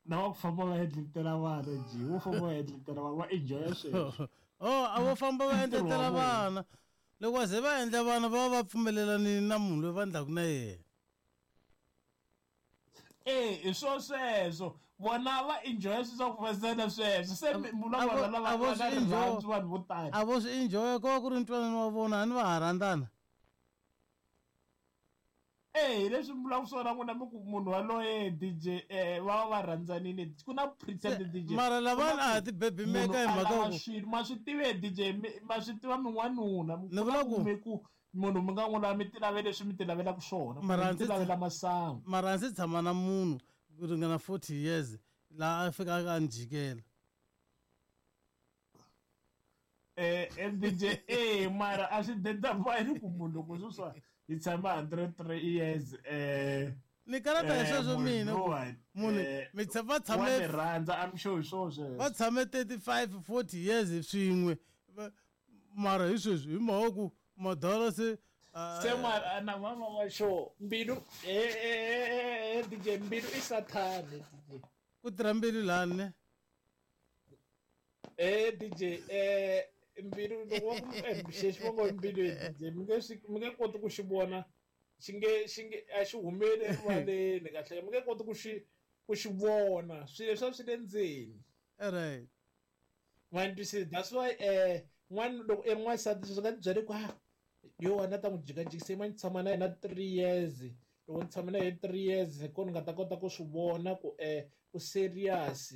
na va ku famba va endletela vana ji wo famba va endletela vana va enjoya sweswo. Oh a vo famba va endletela vana loko va ze va endla vana va va pfumelelanini na munhu loyi va endlaku na yena. Eh hi swo sweswo vona va enjoya swilo swa ku fasana sweswo se munhu wa vona lava va rirhandzu vanhu vo tala a vo swi enjoya ko va ku ri ntwanano wa vona a ni va ha rhandzana. Eh leswi mi vulaka swona n'wina mi ku munhu waloye D J eh va va rhandzanini ku na pretend D J mara lavana a ha ti-baby maker hi mhaka ku swilo ma swi tive D J ma swi tiva min'wanuna ni vula ku mi ku munhu mi nga n'wi lava mi ti lavela leswi mi ti lavelaka swona mara mi ti lavela masangu mara ndzi tshama na munhu ku ringana forty years laha a fika a ni jikela. Eh D J eh mara a swi identify ku munhu loko sweswi hi tshama hundred three years eh ni karata hi sweswo mina munhu mi va tshame rhandza I'm sure hi swona sweswo va tshame thirty-five forty years swin'we mara hi sweswi hi mhaka ku madala se se mara na mama wa sure mbilu eh eh D J mbilu i sathane D J ku tirha mbilu lani ne eh D J eh mbilu loko wa ku xexi va ngo mbilu D J mi nge mi nge koti ku xi vona xi nge xi nge a xi humeli erivaleni kahle mi nge koti ku xi ku xi vona swilo leswi swi le ndzeni. Right ma ni twisisa that's why eh n'wana loko i n'wansati swi nga ti byeli ku ah yo wena ta n'wi jikajikisa ma ni tshama na yena three years loko ni tshama na yena three years hi kona ni nga ta kota ku swi vona ku eh u serious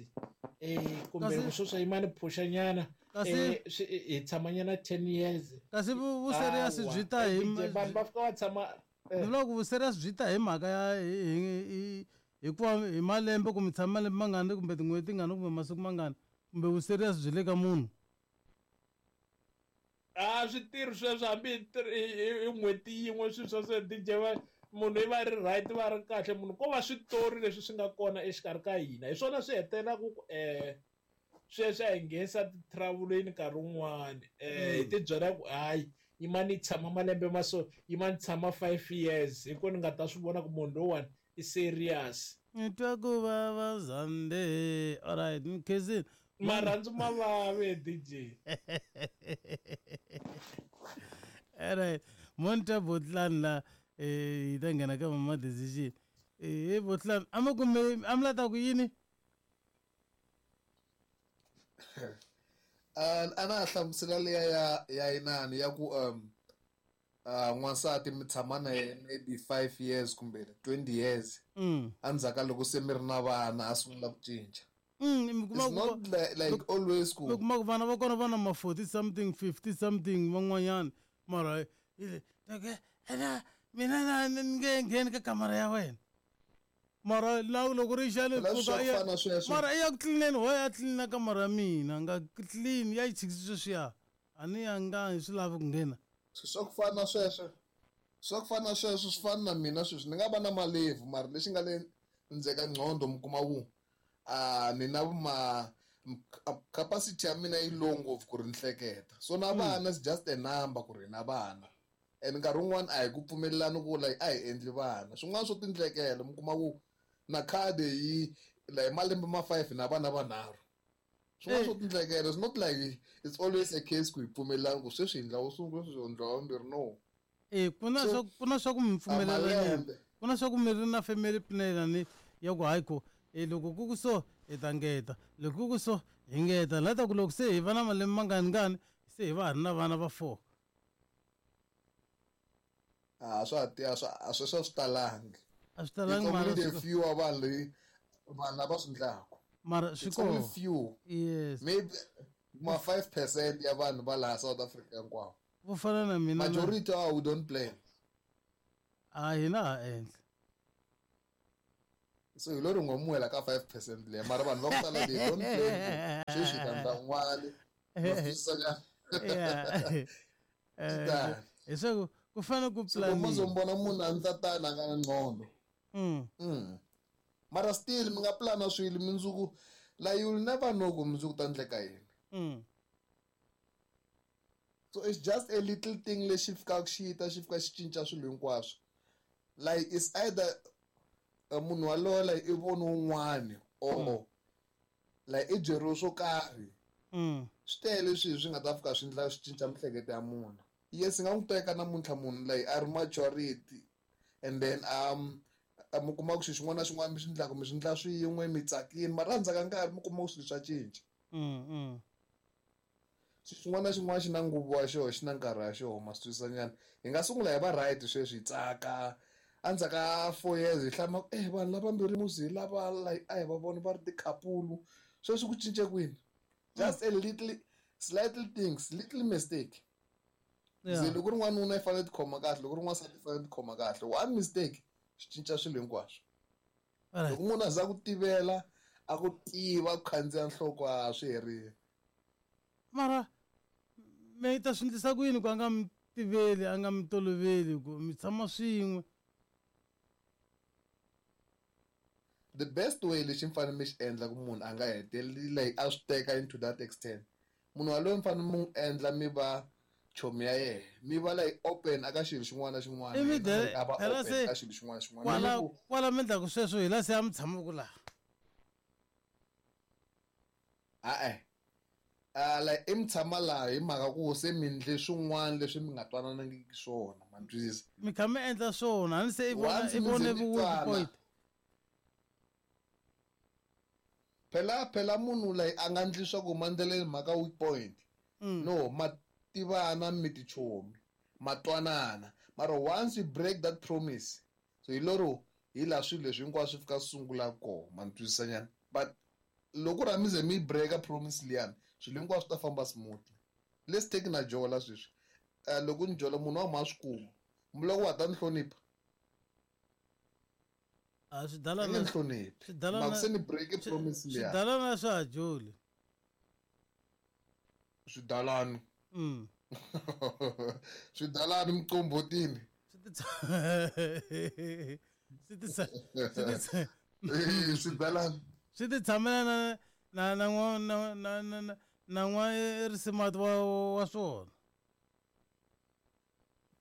eh kumbe sweswi yima ni phusha nyana eh hi tshama nyana ten years kasi vu serious byi ta hi vanhu va fika va tshama ni vula ku vu serious byi ta hi mhaka ya hi hikuva hi malembe kumbe tshama malembe mangani kumbe tin'hweti tingani kumbe masiku mangani kumbe vu serious byi le ka munhu. A swi tirhi sweswo hambi hi n'hweti yin'we swilo sweswo D J va munhu i va ri right va ri kahle munhu ko va switori leswi swi nga kona exikarhi ka hina hi swona swi hetelelaka ku eh sweswi a hi nghenisa ti-travel-eni nkarhi wun'wani eh hi ti byela ku hayi yima ni tshama malembe ma so yima ni tshama five years hi ko ni nga ta swi vona ku munhu lowuwani i serious. Ni twa ku vava Zande alright ni khensile marhandzu ma vave D J. Alright monta botlani la eh hi ta nghena ka mama decision eh botlani a mi kume a mi la ta ku yini a na hlamusela liya ya ya inani ya ku um n'wansati mi tshama na yena maybe five years kumbe twenty years endzhaku ka loko se mi ri na vana a sungula ku cinca. Mm, mi kuma It's not like, like always ku mi kuma ku vana va kona va na ma forty something fifty something van'wanyana mara okay ena mina na ni nge ngheni ka kamara ya wena mara la loko ri xa le pfuka ya mara i ya ku tlilineni ho ya tlilina kamara ya mina nga clean ya yi chikisi sweswiya a ni ya nga hi swi lavi ku nghena. Swa ku fana na sweswo swa ku fana na sweswo swi fana na mina sweswi ni nga va na malevu mara lexi nga le ndzeni ka nqondo mi kuma ku a ni na ma capacity ya mina yi low ngopfu ku ri ni hleketa so na vana is just a number ku ri na vana and nkarhi wun'wani a hi ku pfumelelani ku like a hi endli vana swin'wana swo tindlekela mi kuma ku na khadi yi like malembe ma five na vana vanharhu swin'wana swo tindlekela it's not like it's always a case ku hi pfumelelani ku sweswi hi ndla wo sungula sweswi hi ndla wa vumbirhi no. Eh ku na swa ku na swa ku mi pfumelelani ku na swa ku mi ri na family plan ni ya ku hayi ko e loko ku ku so hi ta ngeta loko ku ku so hi ngeta la ta ku loko se hi va na malembe mangani ngani se hi va ha ri na vana va four. A swa a swa a swi swi talangi a swi talangi mara only the few wa vanhu leyi vanhu lava swi ndlaku mara swi kona few yes maybe Ma five percent ya vanhu va laha South Africa hinkwavo. Vo fana na mina. Majority ah we don't plan. A hina ha endla. So hi lo ri ngomuwela ka five percent leyi mara vanhu va ku tala they don't plan. Sweswi ta ndla n'wana. Yeah. Eh leswaku ku fanele ku plan. So mo munhu a ndla tana nga na ngqondo. Mm. Mm. Mara still mi nga plana swilo mindzuku la you'll never know ku mindzuku ta ndleka yini. Mm. So it's just a little thing lexi fikaka xi ta xi fika xi cinca swilo hinkwaswo. Like it's either munhu walowo like i vona un'wana or like i byeriwe swo karhi. Mm. Swi tele swilo swi nga ta fika swi ndla swi cinca miehleketo ya munhu. Yes, nga n'wi teka namuntlha munhu like a ri maturity and then um mi kuma ku xilo xin'wana na xin'wana mi swi endlaka mi swi endla swin'we mi tsakile mara endzhaku ka nkarhi mi kuma ku swilo swa cinca. Mm, mm. Xilo xin'wana na xin'wana xi na nguva wa xona xi na nkarhi wa xona ma swi twisisa nyana. Hi nga sungula hi va right sweswi hi tsaka endzhaku ka four years hi hlama eh vanhu lavambirhi muzi hi lava like a hi va vona va ri tikhapulu sweswi ku cince kwini. Just a little slightly things little mistake. Yeah. Loko ri n'wanuna i fanele tikhoma kahle loko ri n'wansati i fanele tikhoma kahle one mistake swi cinca swilo hinkwaswo. Loko munhu a za ku tivela a ku tiva ku khandziya nhloko a swi herile. Mara mi ta swi endlisa ku yini ku a nga mi tiveli a nga mi toloveli ku mi tshama swin'we? The best way lexi mi fanele mi xi endla ku munhu a nga heteleli like a swi teka into that extent munhu waloye mi fanele mi n'wi endla mi va chomi ya yena mi va like open aka xilo xin'wana na xin'wana a va open ka xilo xin'wana na xin'wana. Kwala kwala mi endlaku sweswo hi la se a mi tshamaka laha. A-e uh, like i mi tshama laha hi mhaka ku se mi endle swin'wana leswi mi nga twananangiki swona ma ni twisisa. Mi kha mi endla swona a ni se i vona i vone weak point. Phela phela munhu like a nga endli swa ku mandleleni mhaka weak point. Mm. No ma tivana mi tichomi ma twanana mara once you break that promise so hi lero hi laha swilo leswi hinkwaswo swi fika swi sungula kona ma ni twisisa nyana. But loko ra mi ze mi breaka promise liyani swilo hinkwaswo swi ta famba smoothly. Let's take na jola sweswi uh, loko ni jola munhu wa ma swi kuma loko wa ta ni hlonipha a swidalana ni hloniphi swidalana se ni break promise liyani swidalana swa ha joli swidalani. Mm. Swidalani mqombotini swi ti swi swidalani swi ti tshamela na na na na na na na n'wa risimati wa wa swona.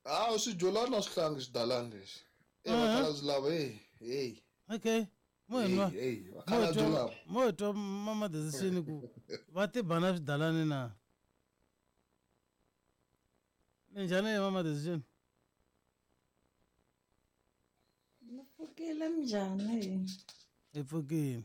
Ah swi jolana swihlangi xidalani lexi e vakhalabye lava hey hey okay mo nwa hey vakhalabye lava mo twa mama decision ku va tibana swidalani na minjhani mama decision? Ni pfukile minjhani? Hi pfukile.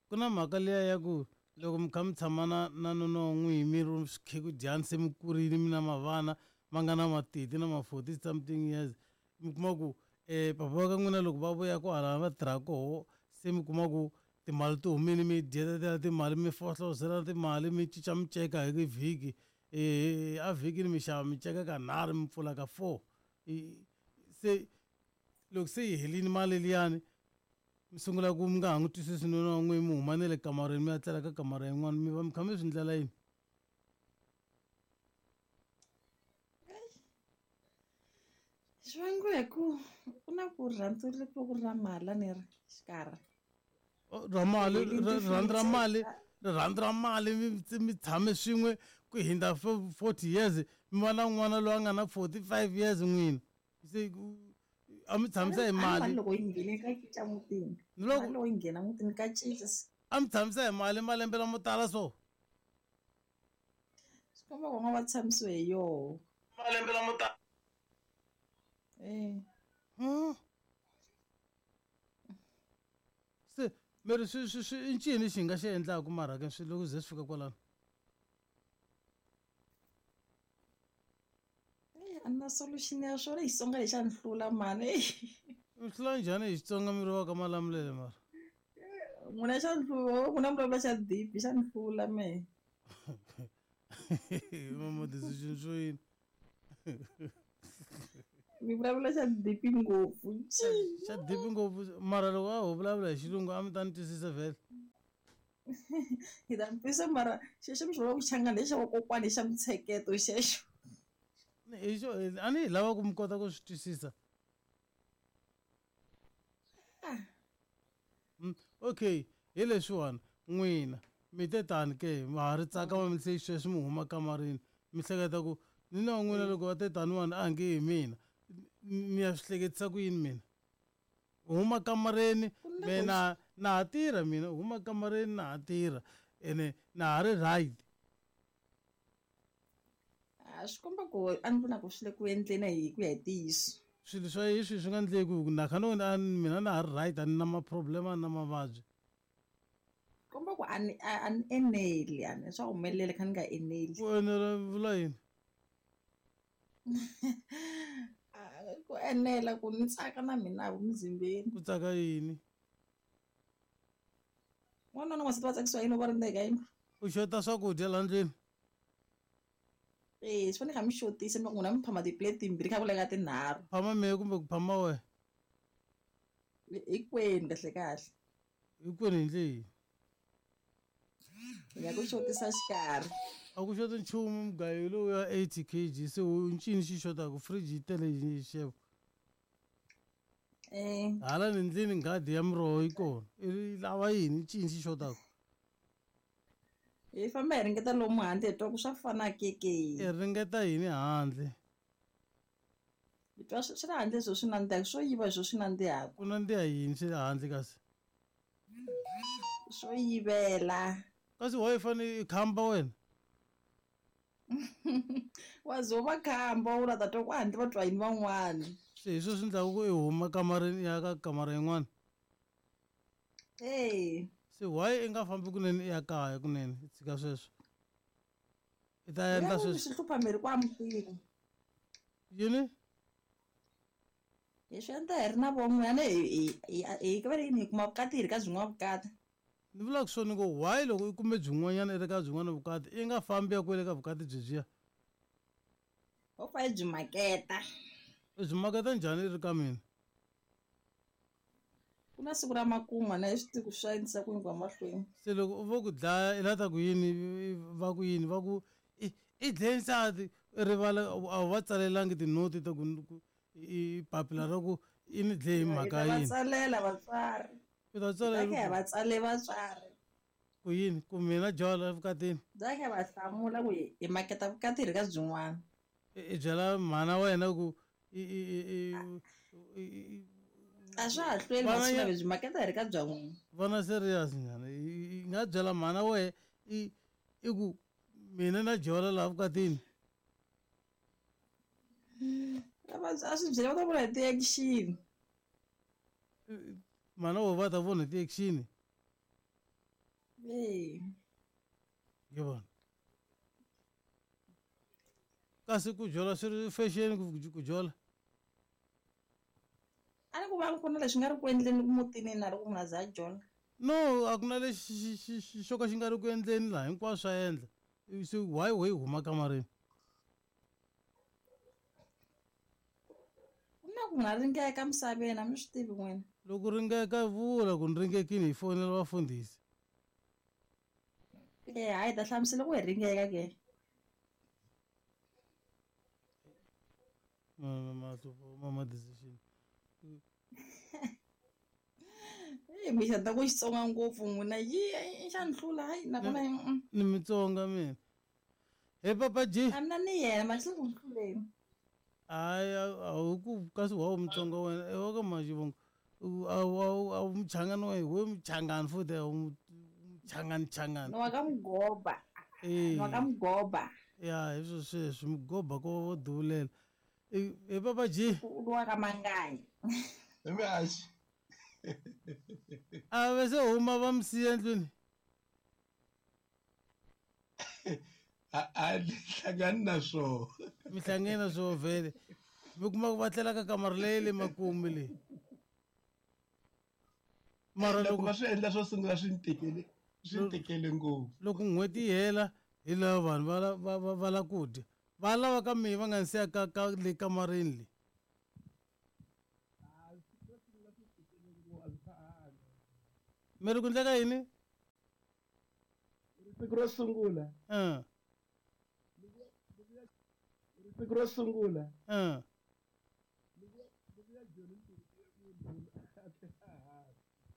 Ku na mhaka liya ya ku loko mi kha mi tshama na na nuna wa n'wini mi ri swikhekudyani se mi kurile mi na mavana ma nga na matiti na ma forty something years mi kuma ku um papa wa ka n'wina loko va vuya ku hala va tirha koho se mi kuma ku timali ti humile mi dyetetela timali mi fohlozela timali mi cinca miceka hi vhiki um a vhikini mi xava miceka ka nharhu mi pfula ka four se loko se yi helini mali liyani mi sungula ku mi nga ha n'wi twisisi nuna wa n'wini mi huma na le kamareni mi ya tlela ka kamara yin'wana mi va mi kha mi swi ndlela yini? Swi vangiwa hi ku ku na ku rhandzu ri ku ri ra mali a ni ri xikarhi ra mali rirhandzu ra mali rirhandzu ra mali mi tshame swin'we ku hindza forty years mi va na n'wana loyi a nga na forty five years n'wina se a mi tshamisa hi mali loko yi nghene ka cinca mutini loko yi nghena mutini ka cinca a mi tshamisa hi mali malembe lamo tala so swi komba ku nga va tshamisiwe hi yoho malembe lamo tala eh se meri swi swi swi i ncini xi nga xi endlaku mara ka swi loko ze swi fika kwalano? A na solution ya swona Xitsonga lexi a ni hlula mani. Mi hlula njhani hi Xitsonga mi ri wa ka Malamulele mara? N'wina xa ni hlula, n'wina mi vulavula xa deep xa ni hlula mehe. Mama decision swo yini? Mi vulavula xa deep ngopfu. Xa deep ngopfu mara loko a ho vulavula hi xilungu a mi ta ni twisisa vhele. Hi ta mi twisisa mara xexo mi xi vulaka Xichangani lexi xa vakokwani xa mintsheketo xexo. Hi xo a ni hi lava ku mi kota ku swi twisisa. Okay, hi leswiwani n'wina mi te tani ke ma ha ri tsaka ma mi se sweswi mi huma kamareni mi hleketa ku ni na n'wina loko va te taniwani a nge hi mina ni ya swi hleketisa ku yini mina huma kamareni mina na ha tirha mina huma kamareni na ha tirha ene na ha ri right. A swi komba ku a ni vona ku swi le ku endleni hi ku ya hi ntiyiso. Swilo swa hi swi swi nga endleki ku na kha no a mina na ha ri right a ni na ma-problem a ni na mavabyi. Komba ku a ni a ni eneli a ni swa humelela kha ni nga eneli. Ku enela vula yini? Ku enela ku ni tsaka na mina muzimbeni. Ku tsaka yini? N'wanuna na n'wansati va tsakisiwa yini va ri ndzeni ka yindlu? U xota swakudya laha ndlwini? Eh, swi fanele kha mi xotisa mi n'wina mi phama ti-plate timbirhi kha ku laveka tinharhu. Phama mehe kumbe ku phama wehe? Hinkwenu kahle kahle. Hinkwenu hi ndlela yihi? Hi nga ku xotisa xikarhi. A ku xoti nchumu mugayo lowu ya eighty kg se ncini xi xotaka fridge yi tele hi xixevo. Eh. Hala ni ndlwini nghadi ya miroho yi kona. I lava yini ncini xi xotaka? Hi famba hi ringeta lomu handle hi twa ku swa fana ke ke. I ringeta yini handle? Hi twa swi le handle swo swi nandzihaka swo yiva swo swi nandzihaka. Ku nandziha yini swi le handle kasi? Swo yivela. Kasi why i fanele i khamba wena? Wa ze u va khamba u la ta twa ku handle va twa yini van'wana. Se hi swona swi endlaka ku i huma kamareni i ya ka kamara yin'wana? Eh. Se why i nga fambi kunene i ya kaya kunene i tshika sweswo? I ta endla sweswo. Swi hlupha miri ku amukela. Yini? Hi swi endla hi ri na von'wana hi hi hi va yini hi kuma vukati hi ri ka byin'wana vukati. Ni vulaka swona ku why loko i kume byin'wanyana i ri ka byin'wana vukati i nga fambi ya kwele ka vukati byebyiya? Ho fa hi byi maketa. I byi maketa njhani i ri ka mina? Ku na siku ra makumu na swi tivi ku swi endlisa ku yini ku ya mahlweni. Se loko u vo ku dlaya i la ta ku yini va ku yini va ku i i dlaye nsati i rivala a wu va tsalelangi tinoti ta ku i papila ra ku i ni dlaye hi mhaka yini. Hi ta va tsalela vatswari. I ta tsalela hi va tsale vatswari. Ku yini ku mina jola evukatini? Bya kha va hlamula ku hi maketa vukati hi ri ka byin'wana. I byela mhana wena ku i i i a swa ha hlweli masiku byi maketa hi ri ka bya n'wina. Vana serious nyana i nga byela mhana wehe i i ku mina na jola laha vukatini. A swi byela va ta vona hi ti-action. Mhana wo va ta vona hi ti-action? Eh. Yi vona. Kasi ku jola swi ri fashion ku jola? A ni ku va ku na leswi nga ri ku endleni mutini na loko munhu a za a jola. No, a ku na lexi xo ka xi nga ri ku endleni laha hinkwaswo swa endla. Se why why huma kamareni? Ku na ku munhu a ringeka misaveni a mi swi tivi n'wina. Loko ringeka vula ku ni ringekile hi fonela vafundhisi. Eh, hayi ta hlamusela ku hi ringeka ke. Mama mama decision. Eh, mi xanta ku Xitsonga ngopfu n'wina yi xa ni hlula hayi nakona ni Mitsonga mina. He Papa G. A mina ni yena ma xi ku hluleni. Hayi a wu ku kasi wa Mutsonga wena i wa ka Maxivongo a wu a wu Muchangani wena we Muchangani futhi a wu Muchangani Changani. Ni wa ka Mugoba. Ni wa ka Mugoba. Ya hi swo sweswi Mugoba ko vo duvulela. He Papa G. U wa ka Manganyi. Mihaxi. A va se huma va mi siya endlwini? A a ni hlangani na swona. Mi hlangene na swona vhele. Mi kuma ku va tlela ka kamara leyi le makumu leyi. Mara loko loko va swi endla swo sungula swi ni tikele swi ni tikele ngopfu. Loko n'hweti yi hela hi lava vanhu va la- va va va la ku dya va lava ka mehe va nga ni siya ka ka le kamareni le. Mi ri ku endleka yini? Siku ro sungula. Uh. Siku ro sungula. Uh.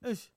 Eish.